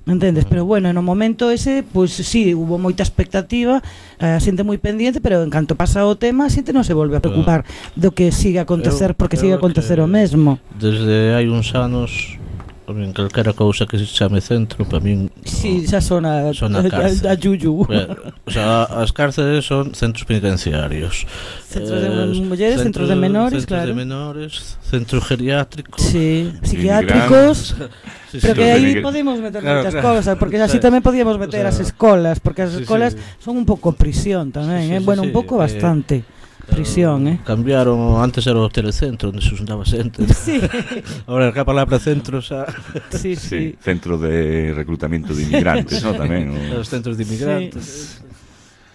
S4: entendes? Pero bueno, no momento ese, pois sí, hubo moita expectativa, a xente moi pendiente, pero en canto pasa o tema, a xente non se volve a preocupar do que siga a acontecer, porque sigue a acontecer o mesmo.
S3: Desde hai uns anos, en calquera cousa que se chame centro, para min
S4: sí, xa sona a yuyu.
S3: O sea, as cárceles son centros penitenciarios,
S4: centros de mulleres, centros de menores,
S3: centros de menores, centros geriátricos,
S4: sí, psiquiátricos.
S3: Sí,
S4: pero que aí
S2: de
S4: podemos meter moitas cosas, porque así tamén podíamos meter as escolas, porque as escolas son un pouco prisión tamén, bueno, un pouco bastante prisión,
S3: Cambiaron, antes era o telecentro onde se juntaba xente.
S4: Sí.
S3: Ahora a palabra centro xa.
S4: Sí.
S2: Centro de reclutamiento de inmigrantes, ¿no? Tamén
S3: os centros de inmigrantes.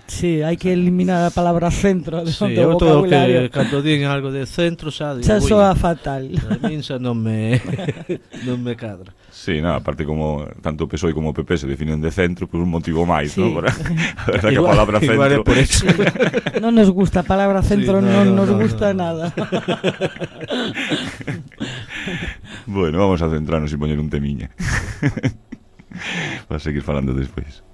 S4: Sí, hai que eliminar a palabra centro do
S3: vocabulario. Todo que cando digan algo de centro xa
S4: soa fatal.
S3: A min xa non me cadra.
S2: Sí, no, aparte como tanto o PSOE como o PP se definen de centro por un motivo máis,
S4: sí.
S2: ¿no? A verdad que a palabra centro
S3: por eso.
S4: Non nos gusta a palabra centro,
S3: sí,
S4: non nos gusta nada.
S2: Bueno, vamos a centrarnos e poñer un temiña para seguir falando despois.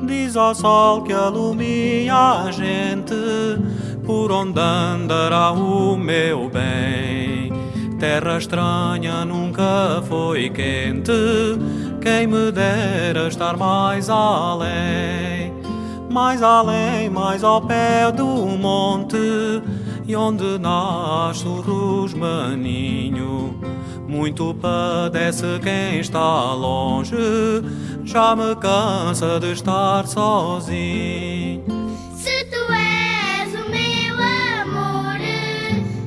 S6: Diz ao sol que alumia a gente, por onde andará o meu bem. Terra estranha nunca foi quente, quem me dera estar mais além. Mais além, mais ao pé do monte, e onde nasce o rosmaninho. Muito padece quem está longe, já me cansa de estar sozinho.
S5: Se tu és o meu amor,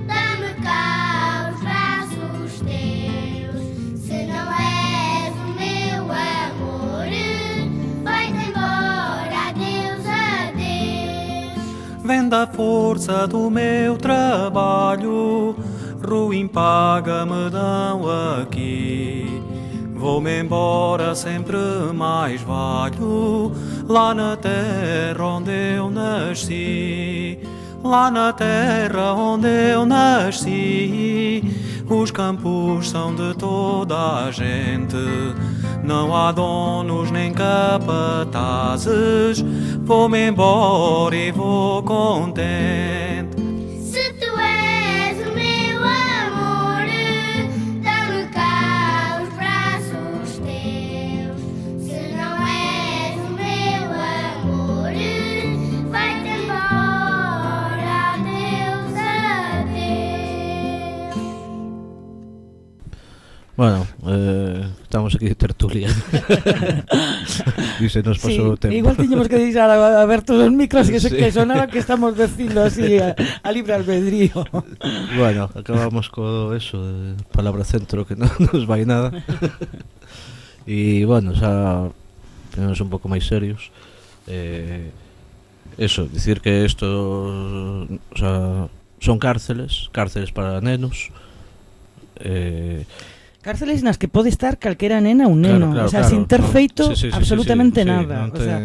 S5: dá-me cá os braços teus. Se não és o meu amor, vai-te embora, adeus, adeus.
S6: Vem da força do meu trabalho, ruim paga me dão aqui. Vou-me embora, sempre mais valho, lá na terra onde eu nasci. Lá na terra onde eu nasci, os campos são de toda a gente. Não há donos nem capatazes, vou-me embora e vou contente.
S3: Bueno, estamos aquí de tertulia. Y se nos pasó o tempo.
S4: Igual tiñemos que deixar abertos os micros que sonara que estamos dicindo así a libre albedrío.
S3: Bueno, acabamos co eso de palabra centro que non nos vai nada. Y bueno, xa ponemos un pouco máis serios. Eso, dicir que isto, o sea, son cárceles para nenos.
S4: Cárceles nas que pode estar calquera nena ou neno, claro, o sea, sin ter feito absolutamente nada.
S3: O sea,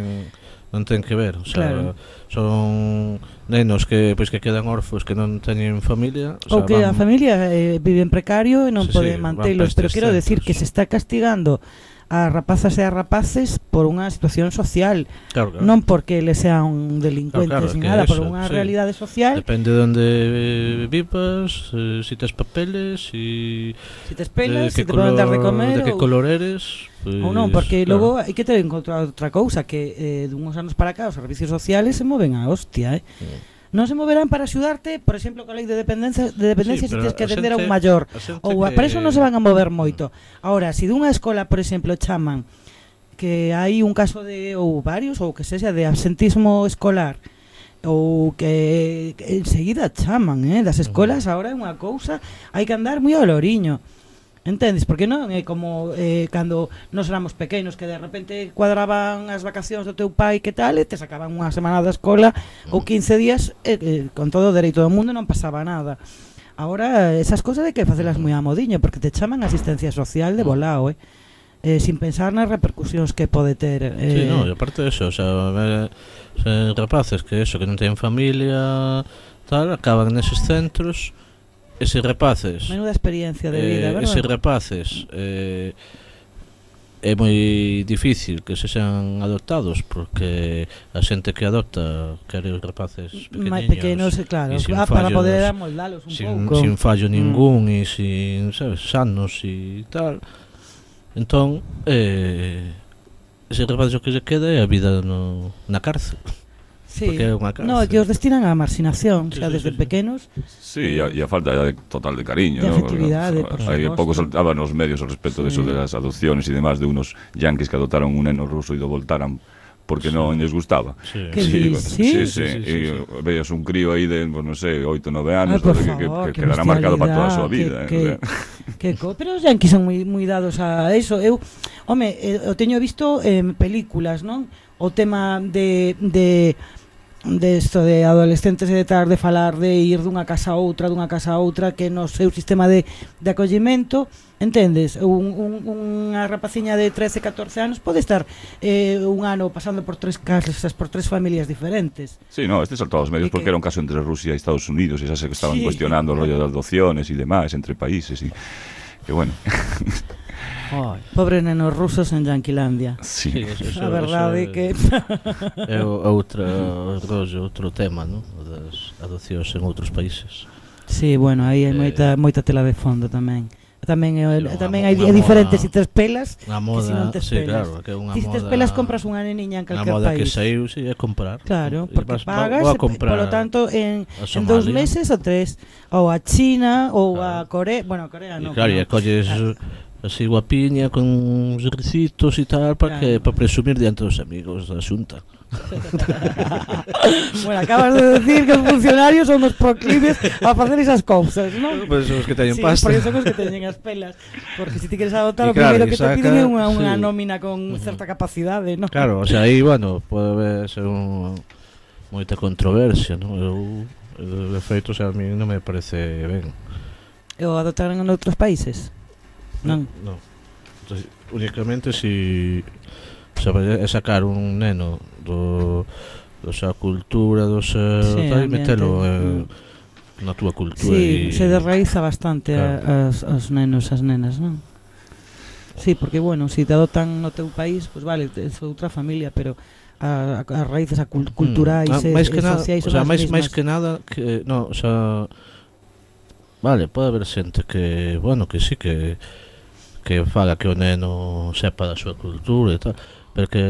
S3: non ten que ver, o sea,
S4: Claro.
S3: son nenos que pois que quedan órfos, que non teñen familia,
S4: Ou que a familia vive en precario e non
S3: Sí,
S4: pode
S3: sí,
S4: mantelos,
S3: van pa
S4: pero
S3: estes
S4: quero decir
S3: centros.
S4: que se está castigando a rapazas e a rapaces por unha situación social,
S3: claro,
S4: non porque eles sean delincuentes
S3: Claro,
S4: ni
S3: que
S4: nada, por
S3: eso,
S4: unha
S3: sí.
S4: realidade social.
S3: Depende de onde vivas, si tes papeles, si
S4: Si te espelas,
S3: de
S4: si te poden dar de
S3: de
S4: comer
S3: que
S4: ou
S3: color eres, pues,
S4: ou non, porque
S3: claro.
S4: logo hai que ter en conta outra cousa, que dunhos anos para cá os servicios sociales se moven a hostia, non se moverán para axudarte, por exemplo, coa lei de dependencia
S3: Sí,
S4: se
S3: pero
S4: tens que
S3: a
S4: atender a un
S3: xente-
S4: maior.
S3: a xente
S4: Ou
S3: que-
S4: para eso non se van a mover moito. Ahora, se dunha escola, por exemplo, chaman que hai un caso de, ou varios, ou que sexa de absentismo escolar, ou que enseguida chaman, das escolas agora é unha cousa, hai que andar moi ao loriño. Entendes? Porque non é como cando nos éramos pequenos que de repente cuadraban as vacacións do teu pai que tal e te sacaban unha semana da escola ou 15 días con todo o dereito do mundo non pasaba nada. Agora esas cousas hai que facelas moi a modiño porque te chaman asistencia social de volao, sin pensar nas repercusións que pode ter.
S3: Sí, no, e aparte de eso, o sea, rapaces que eso, que non teñen familia, tal, acaban neses centros. Eses rapaces,
S4: Menuda experiencia de vida, verdad?
S3: eses rapaces é moi difícil que se sean adoptados porque a xente que adopta quere os rapaces
S4: máis
S3: pequeniños,
S4: pequenos, claro,
S3: e sin
S4: para
S3: fallos,
S4: poder amoldalos un pouco.
S3: sin fallo ningún e sin, sabes, sanos e tal. Entón, ese rapaces o que se queda é a vida na cárcel.
S4: Sí.
S3: Porque é unha cárcel.
S4: No, que os destinan á marxinación,
S3: Sí,
S4: xa
S3: sí,
S4: desde
S3: sí, sí.
S4: pequenos.
S2: Sí, e a falta total de cariño,
S4: De
S2: ¿no?
S4: afectividade, por
S2: Hay
S4: suposto.
S2: pouco saltaban nos medios al respecto de eso de las adopciones y demás de unos yanquis que adoptaron un neno ruso y lo voltaran porque non les gustaba.
S3: Sí.
S4: Que
S2: Sí,
S4: dis, sí?
S2: sí, y veías un crío aí de, pues, non sei, 8 9 anos,
S4: Por
S2: que
S4: favor, que
S2: quedará marcado para toda a súa vida,
S4: pero os yanquis son moi dados a eso. Eu, home, o teño visto en películas, non? O tema de isto de adolescentes e de tal, de falar de ir dunha casa a outra que no seu sistema de acollimento, entendes? Unha rapaciña de 13, 14 anos pode estar un ano pasando por 3 casas, por 3 familias diferentes.
S2: Sí, no, este saltó a los medios
S4: Y
S2: porque
S4: que-
S2: era un caso entre Rusia y Estados Unidos y esas que estaban
S4: Sí.
S2: cuestionando el rollo de adopciones y demás entre países y que bueno.
S4: Pobres nenos rusos en Yanquilandia.
S2: Sí.
S4: A verdade é que
S3: é outro rollo, outro tema, ¿no? Das adopcións en outros países.
S4: sí, bueno, aí hai moita tela de fondo tamén. Tamén
S3: unha
S4: é
S3: moda-
S4: diferente se tes pelas
S3: Unha
S4: que se non
S3: moda,
S4: tes
S3: sí,
S4: pelas.
S3: claro, que é unha
S4: Si tes
S3: moda.
S4: pelas compras unha neniña en
S3: Unha
S4: calquer
S3: moda que
S4: país.
S3: saiu, sí, é comprar.
S4: Claro,
S3: E
S4: porque
S3: vas-
S4: pagas,
S3: vou a comprar
S4: polo tanto, en
S3: a
S4: 2
S3: Somalia.
S4: meses ou 3, ou a China, ou
S3: Claro.
S4: a Corea, bueno, a Corea
S3: E
S4: non.
S3: claro, e colles así guapiña con uns ricitos e tal para que
S4: Claro.
S3: para presumir diante dos amigos da xunta.
S4: Bueno, acabas de decir que os funcionarios son os proclives a facer esas cousas, non?
S3: Pois os que teñen
S4: Sí,
S3: pasta.
S4: porque son os que teñen as pelas. Porque se ti queres adoptar,
S3: E
S4: o
S3: claro,
S4: primeiro
S3: e
S4: que te
S3: saca-
S4: piden é unha
S3: sí.
S4: nómina con certa capacidade, non?
S3: Claro, o sea, aí, bueno, pode ser moita controversia, non? De feito, o sea, a mí non me parece ben.
S4: E o adoptaron en outros países? Non.
S3: No. Entonces, únicamente si é sacar un neno do sa cultura, do seu
S4: Sí,
S3: tal, e
S4: ambiente.
S3: metelo na túa cultura.
S4: Sí,
S3: e
S4: se derraiza bastante
S3: Claro.
S4: as nenos, as nenas, non? Sí, porque, bueno, se te adoptan no teu país, pues vale, é outra familia, pero as raíces culturais e
S3: máis que nada,
S4: sociais
S3: o sea,
S4: son as
S3: máis
S4: mesmas.
S3: que nada que no, o sea, vale, pode haber xente que, bueno, que sí que faga que o neno sepa da súa cultura e tal, pero que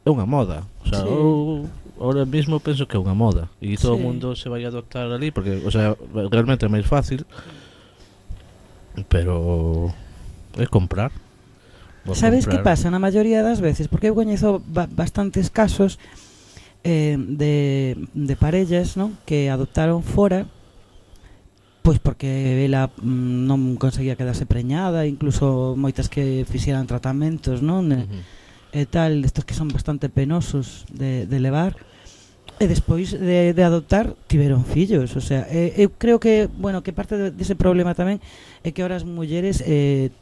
S3: é unha moda, o sea,
S4: Sí.
S3: eu ahora mismo penso que é unha moda e todo o
S4: Sí.
S3: mundo se vai a adoptar ali porque, o sea, realmente é máis fácil, pero é comprar. Vou
S4: Sabes que
S3: comprar.
S4: pasa na maioría das veces? Porque eu coñezo bastantes casos de parellas, non? Que adoptaron fora pois porque ela non conseguía quedarse preñada, incluso moitas que fixeran tratamentos, non? E tal, estos que son bastante penosos de levar. E despois de adoptar tiveron fillos, o sea, eu creo que, bueno, que parte dese problema tamén é que ahora as mulleres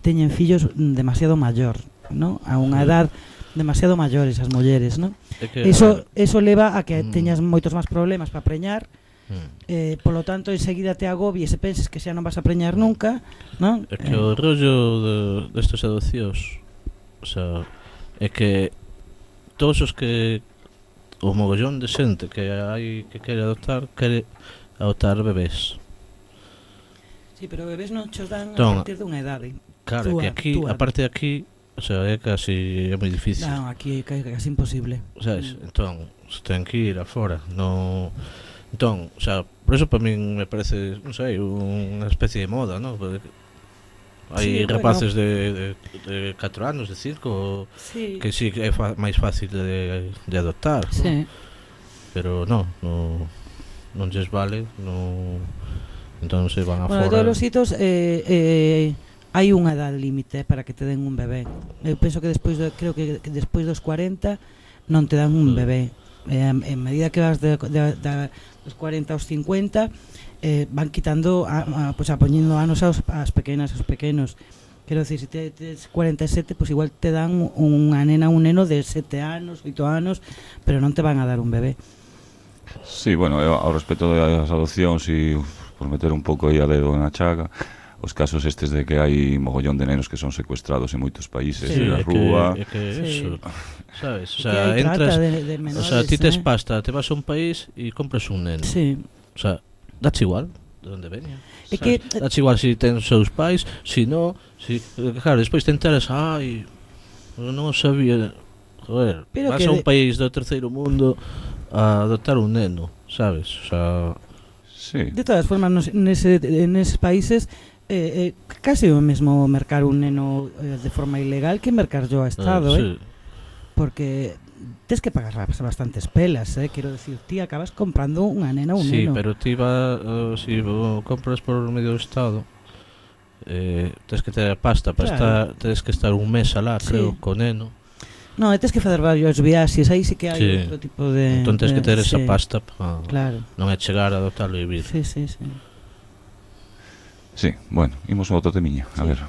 S4: teñen fillos demasiado maior, non? A unha edad demasiado maiores as mulleres, non? Eso leva a que teñas moitos máis problemas para preñar. Polo tanto, enseguida te agobies e penses que xa non vas a preñar nunca, non?
S3: É que o rollo destas adopcións, o sea, é que todos os que o mogollón de xente que hai que quere adoptar bebés.
S4: Sí, pero bebés non chos dan
S3: Entón,
S4: a partir dunha idade.
S3: Claro, que aquí, aparte de aquí, o sea, é casi moi difícil.
S4: Non, aquí é casi imposible.
S3: Sabes? Entón, se ten que ir afora, no. Entón, o sea, por eso para min me parece, non sei, unha especie de moda, non? Hai rapaces de 4 anos, de 5 que sí que é máis fácil de adoptar,
S4: sí.
S3: Pero non lles vale, entón se van afora.
S4: Bueno, todos os hitos hai unha edad límite para que te den un bebé. Eu penso que creo que despois dos 40 non te dan un bebé. En medida que vas dos 40 aos 50 van quitando pues poñendo anos aos pequenas, aos pequenos. Quero dicir, se tes 47, pues igual te dan unha nena, un neno de 7 anos, 8 anos, pero non te van a dar un bebé.
S2: Sí, bueno, ao respecto das adopcións e por meter un pouco aí a dedo na chaga, os casos estes de que hai mogollón de nenos que son secuestrados en moitos países, na rúa.
S3: É que eso, sabes? O
S4: sea,
S3: entras,
S4: de menores,
S3: o sea, ti tes pasta, te vas a un país e compras un neno.
S4: Sí.
S3: O sea, dache igual de onde veña.
S4: É que
S3: dache igual se ten os seus pais, se non, claro, despois te enteras, non sabía. Joder, vas a un país do terceiro mundo a adoptar un neno, sabes? O sea,
S2: sí.
S4: De todas formas, neses países casi o mesmo mercar un neno de forma ilegal que mercar yo a Estado,
S3: sí.
S4: Porque tens que pagar bastantes pelas, quero decir, ti acabas comprando unha nena ou un
S3: neno. Sí, pero ti si compras por medio do Estado, tens que ter a pasta para estar, tens que estar un mes alá, creo, co neno.
S4: Non, tens que fazer varios viaxes, aí sí que hai outro tipo de...
S3: Entón tens que ter esa pasta para
S4: non
S3: é chegar a adoptarlo e vir.
S4: Sí.
S2: Sí, bueno, imos a outro temiña, a ver.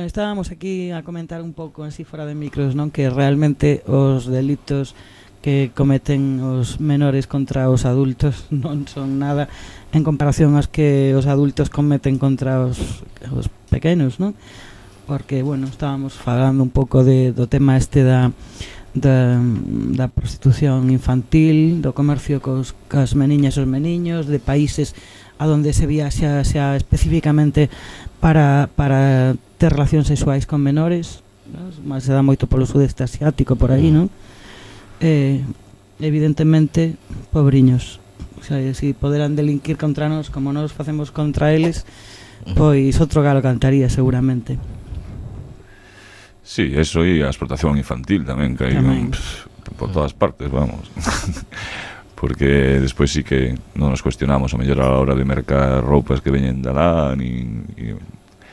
S4: Bueno, estábamos aquí a comentar un pouco así fora de micros, non? Que realmente os delitos que cometen os menores contra os adultos non son nada en comparación aos que os adultos cometen contra os pequenos, non? Porque, bueno, estábamos falando un pouco do tema este da prostitución infantil, do comercio cas meniñas e os meniños, de países a donde se viaxa xa especificamente para ter relacións sexuais con menores, ¿no? Se dá moito polo sudeste asiático por aí, non? Evidentemente, pobriños, o sea, si poderan delinquir contra nós como nós facemos contra eles, pois outro galo cantaría seguramente.
S2: Sí, eso e a explotación infantil tamén, que hai por todas partes, vamos. Porque despois sí que non nos cuestionamos a mellor a la hora de mercar roupas que veñen de lá,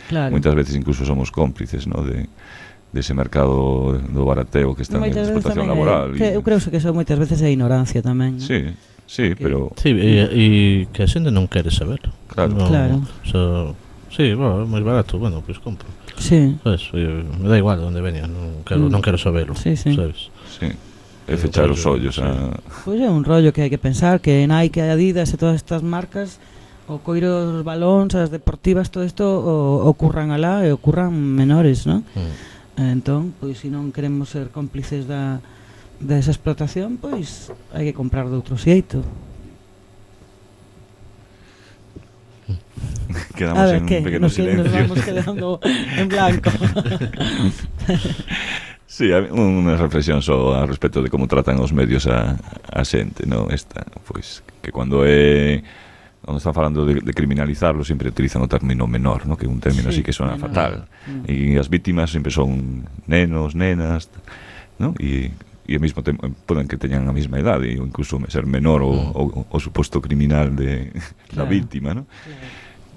S4: claro.
S2: Moitas veces incluso somos cómplices, ¿no? de ese mercado do barateo que está en explotación laboral.
S4: Eu creo que eso moitas veces é ignorancia tamén, ¿no?
S2: Sí, pero...
S3: Sí, e que a xente non quere saber.
S2: Claro.
S3: Sí, bueno, é máis barato, bueno, pois compro.
S4: Sí.
S3: Sabes, me da igual onde veña, non quero saberlo, sabes?
S2: Sí. É fechar os ollos
S4: Pois é un rollo que hai que pensar, que Nike, Adidas e todas estas marcas, o coiro, os balóns, as deportivas, todo isto ocurran alá e ocurran menores, non? Entón, pois se non queremos ser cómplices desa explotación, pois hai que comprar de outro xeito.
S2: Quedamos en un pequeno silencio.
S4: Nos vamos quedando en blanco.
S2: Sí, unha reflexión só a respecto de como tratan os medios a xente, ¿no? Esta, pois, que cando están falando de criminalizarlo sempre utilizan o término menor, ¿no? Que é un término así que suena fatal. E as vítimas sempre son nenos, nenas, ¿no? E ao mesmo tempo poden que teñan a mesma idade ou incluso ser menor o suposto criminal da vítima, ¿no?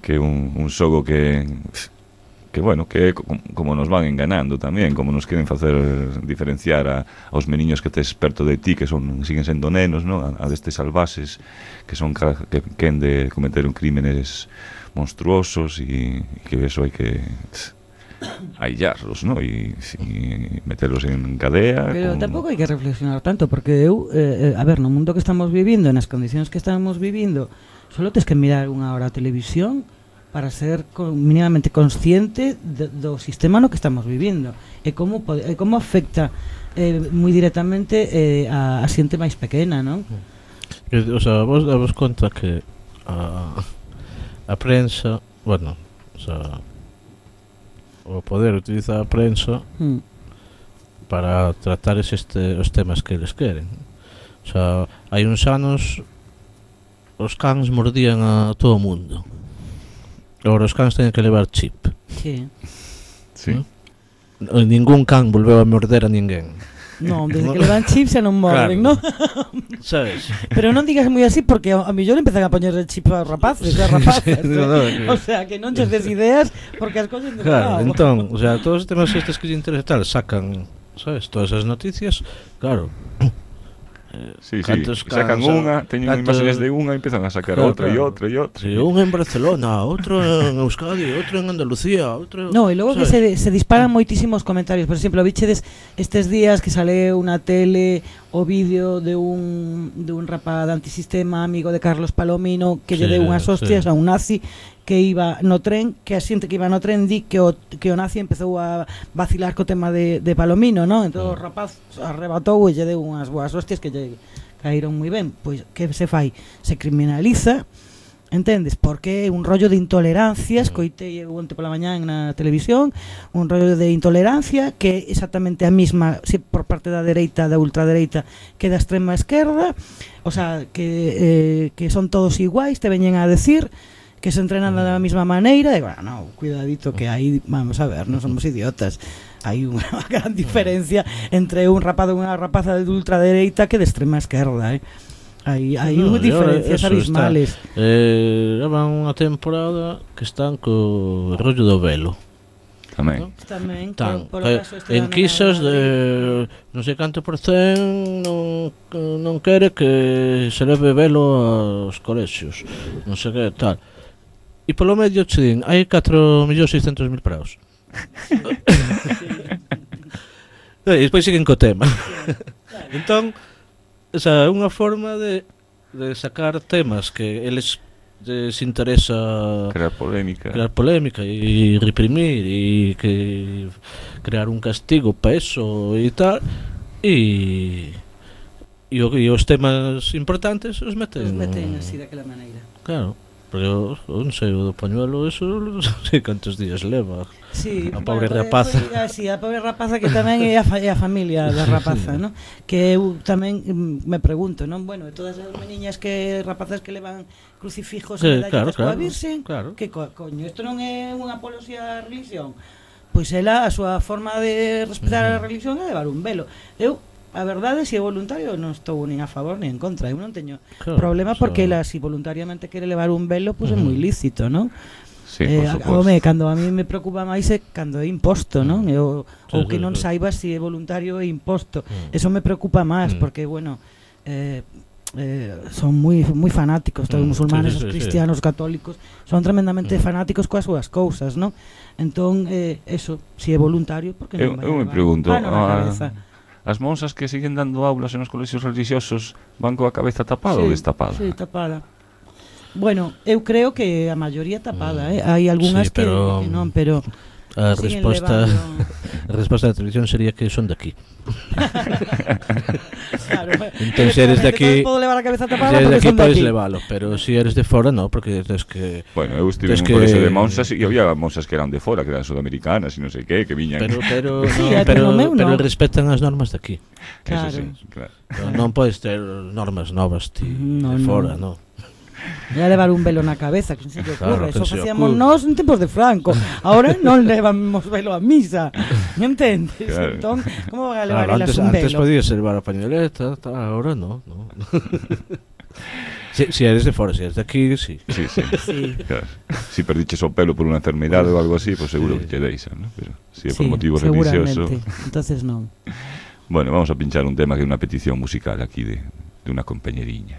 S2: Que é un xogo que bueno, que como nos van enganando tamén, como nos queren facer diferenciar aos meniños que tes perto de ti, que siguen sendo nenos, ¿no? A destes salvaxes que quen de cometer crímenes monstruosos e que eso hai que aillarlos, ¿no? E meterlos en cadea.
S4: Pero tampouco hai que reflexionar tanto, porque a ver, no mundo que estamos vivindo, nas condicións que estamos vivindo, solo tes que mirar unha hora a televisión para ser mínimamente consciente do sistema no que estamos vivindo e como afecta moi directamente a xente máis pequena, non?
S3: O sea, vos damos conta que a prensa, bueno, o sea, o poder utilizar a prensa para tratar os temas que eles queren. O sea, hai uns anos os cans mordían a todo o mundo. Agora os cans teñen que levar chip.
S4: Sí.
S3: ¿No? Ningún can volveu a morder a ninguén.
S4: Non, desde que levan chips xa non morden,
S3: claro.
S4: ¿no?
S3: Sabes?
S4: Pero non digas moi así porque a millor empezan a poñer el chip aos rapaces, o sea, que non ches des ideas porque as cousas de
S3: claro, entón, o sea, todos os temas estes que lle interesa tal sacan, sabes, todas as noticias, claro.
S2: Sí, sacan unha, teñen imágenes de unha e empezan a sacar outra e outra e outra.
S3: Sí, un en Barcelona, outro en Euskadi, outro en Andalucía, outro...
S4: No, e logo que se disparan moitísimos comentarios. Por exemplo, vichedes estes días que sale unha tele o vídeo de un rapaz de antisistema, amigo de Carlos Palomino, que lle deu unhas hostias a un nazi que iba no tren, que a xente que iba no tren di que o nazi empezou a vacilar co tema de Palomino, non? Entón o rapaz arrebatou e lle deu unhas boas hostias que lle caíron moi ben. Pois que se fai? Se criminaliza, entendes? Porque é un rollo de intolerancia, escoitei onte pola mañá na televisión, un rollo de intolerancia que é exactamente a mesma por parte da dereita, da ultradereita, que da extrema esquerda, o sea, que son todos iguais, te veñen a decir que se entrenan da mesma maneira, e bueno, cuidadito que aí, vamos a ver, non somos idiotas. Hai unha gran diferencia entre un rapaz ou unha rapaza de ultradereita que de extrema esquerda, Hai diferencias abismales.
S3: Levan unha temporada que están co rollo do velo.
S2: Tamén.
S3: ¿No? Tamén en quixas de non sei canto por cen non quere que se leve velo aos colexios, non sei que tal. E polo medio che din, hai 4.600.000 parados. E despois siguen co tema. Entón, esa é unha forma de sacar temas que eles les interesa
S2: Crear polémica.
S3: e reprimir e que crear un castigo para eso e tal e os temas importantes os meten
S4: así daquela maneira.
S3: claro, porque non sei, o do pañuelo eso non sei cantos días leva
S4: Sí,
S3: a pobre rapaza.
S4: Sí, a pobre rapaza que tamén é a familia da rapaza, ¿no? Que eu tamén me pregunto, non? Bueno, de todas as meniñas rapazas que levan crucifijos e medallas coa Virxen, que coño, isto non é unha apoloxía á religión? Pois ela, a súa forma de respetar a religión é levar un velo. Eu, a verdade, se é voluntario, non estou nin a favor nin en contra. Eu non teño problema porque ela, se voluntariamente quere levar un velo, pois é moi lícito, non?
S2: Sí, por suposto.
S4: Cando a mí me preocupa máis é cando é imposto, non? Ou que non saibas se é voluntario ou imposto. Eso me preocupa máis porque, bueno, son moi fanáticos, todos os musulmanes, os cristianos, os católicos, son tremendamente fanáticos coas súas cousas, non? Entón, eso, se é voluntario, porque non vai.
S2: Eu me pregunto,
S4: as
S2: monsas que siguen dando aulas en os colexios religiosos van coa cabeza tapada ou destapada?
S4: Sí, tapada. Bueno, eu creo que a maioría tapada, hai algunhas que non, pero
S3: a resposta da televisión sería que son de aquí.
S4: Claro,
S3: entón, se eres de aquí,
S4: podo levar a cabeza tapada,
S3: se eres de aquí podes levalo, pero se eres de fora no, porque tens que...
S2: Bueno, eu estive en un colexio de monsas e había monsas que eran de fora, que eran sudamericanas e non sei que viñan.
S3: Pero respetan as normas de aquí.
S4: Claro.
S2: Eso sí, claro.
S3: Non podes ter normas novas de fora, non.
S4: Ia levar un velo na cabeza, que non se lle ocurre,
S3: Claro,
S4: eso facíamos nós en tempos de Franco. Ahora non levamos velo a misa, entendes?
S2: Claro.
S4: Entón, como van a levar elas un velo?
S3: Antes podías levar a pañoleta, ahora no. Si eres de fora, si eres de aquí, sí.
S4: Sí.
S2: Claro. Si perdiches o pelo por unha enfermedade ou algo así, pues seguro que te deixan, ¿no? Pero si é por motivo religioso.
S4: Entonces non.
S2: Bueno, vamos a pinchar un tema que é unha petición musical aquí de unha compañeriña.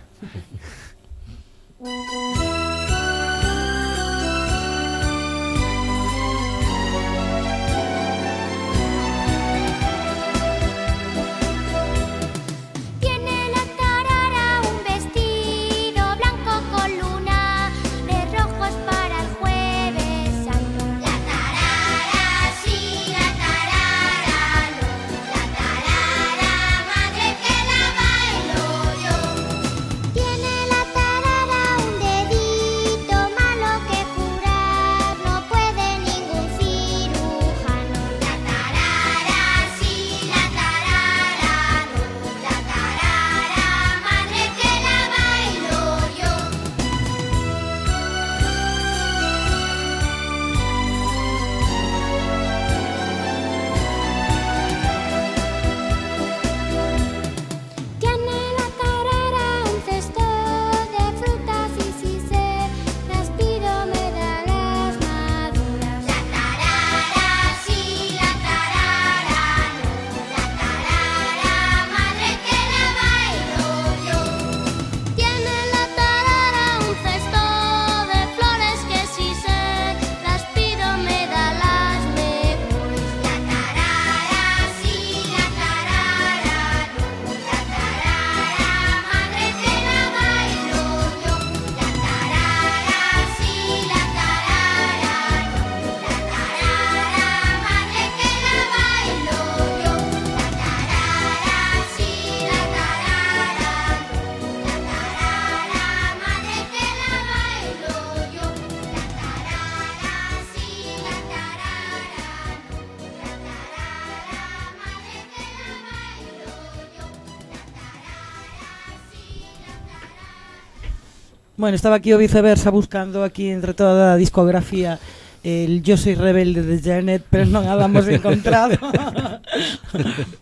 S4: Bueno, estaba aquí o viceversa buscando aquí entre toda a discografía el Yo soy rebelde de Janet, pero non a damos encontrado.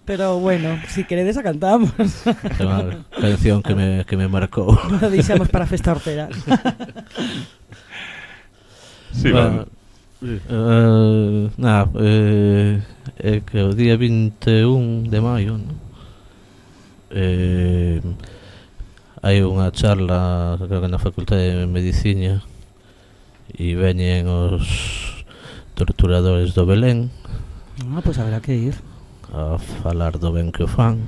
S4: Pero bueno, si queredes a cantamos.
S3: Uma canción que me marcou.
S4: Lo deixamos para a festa hortera.
S2: Sí, bueno.
S3: É que o día 21 de maio, ¿no? Hai unha charla, creo que na Facultade de Medicina, e veñen torturadores do Belén,
S4: Pois haberá que ir.
S3: a falar do ben que o fan.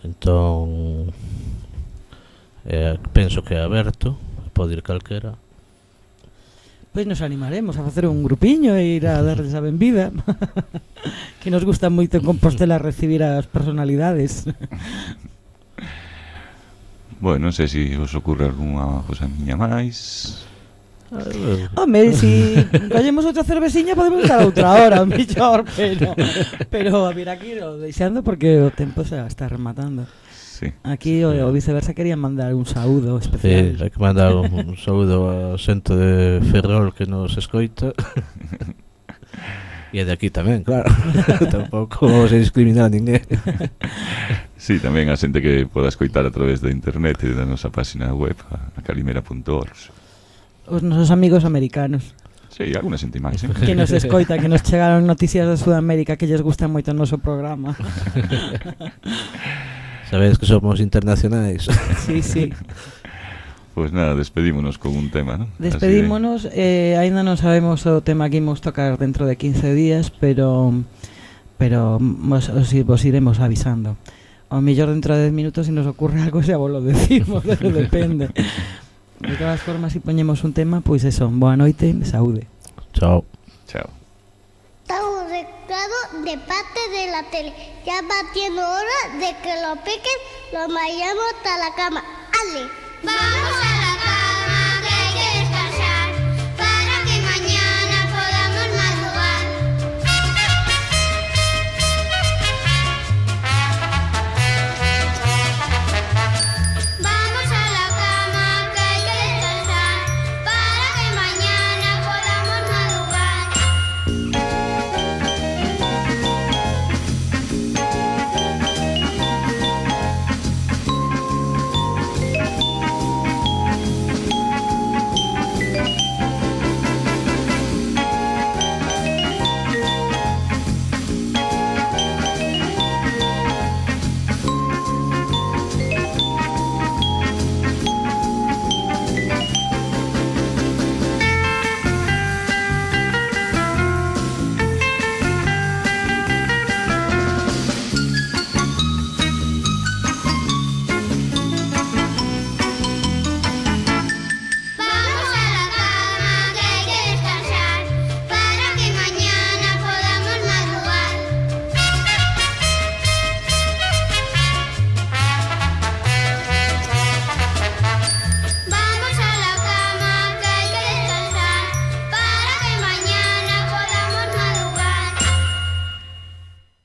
S3: Entón penso que é aberto, pode ir calquera.
S4: Pois nos animaremos a facer un grupiño e ir a darles a benvida. Que nos gusta moito en Compostela recibir as personalidades.
S2: Bueno, non sei se vos ocurre algunha cosa miña máis.
S4: Home, si collemos outra cerveciña podemos dar outra hora, mellor, pero haberá que ir deixando porque o tempo se está rematando.
S2: Sí.
S4: Aquí o viceversa quería mandar un saúdo especial.
S3: Sí, hai que mandar un saúdo a xente de Ferrol que nos escoita. E de aquí tamén, claro. Tampouco se discrimina a ninguén.
S2: Sí, tamén a xente que poda escoitar a través da internet e da nosa página web, a calimera.org.
S4: Os nosos amigos americanos
S2: Sí, alguna xente máis,
S4: que nos escoita, que nos chegaron noticias de Sudamérica que lles gusta moito o noso programa.
S3: Sabedes que somos internacionais.
S4: Sí, sí.
S2: Pois nada, despedímonos con un tema, ¿no?
S4: Despedímonos, aínda non sabemos o tema que imos tocar dentro de 15 días, pero vos iremos avisando. Ao mellor dentro de 10 minutos se nos ocurre algo xa vos lo decimos, pero depende. De todas formas, se poñemos un tema, pois eso, boa noite, saúde.
S3: Chao.
S2: Chao.
S5: Está un recado de parte de la tele. Ya va siendo hora de que lo piquen, lo vayamos hasta la cama. ¡Ale! ¡Vamos!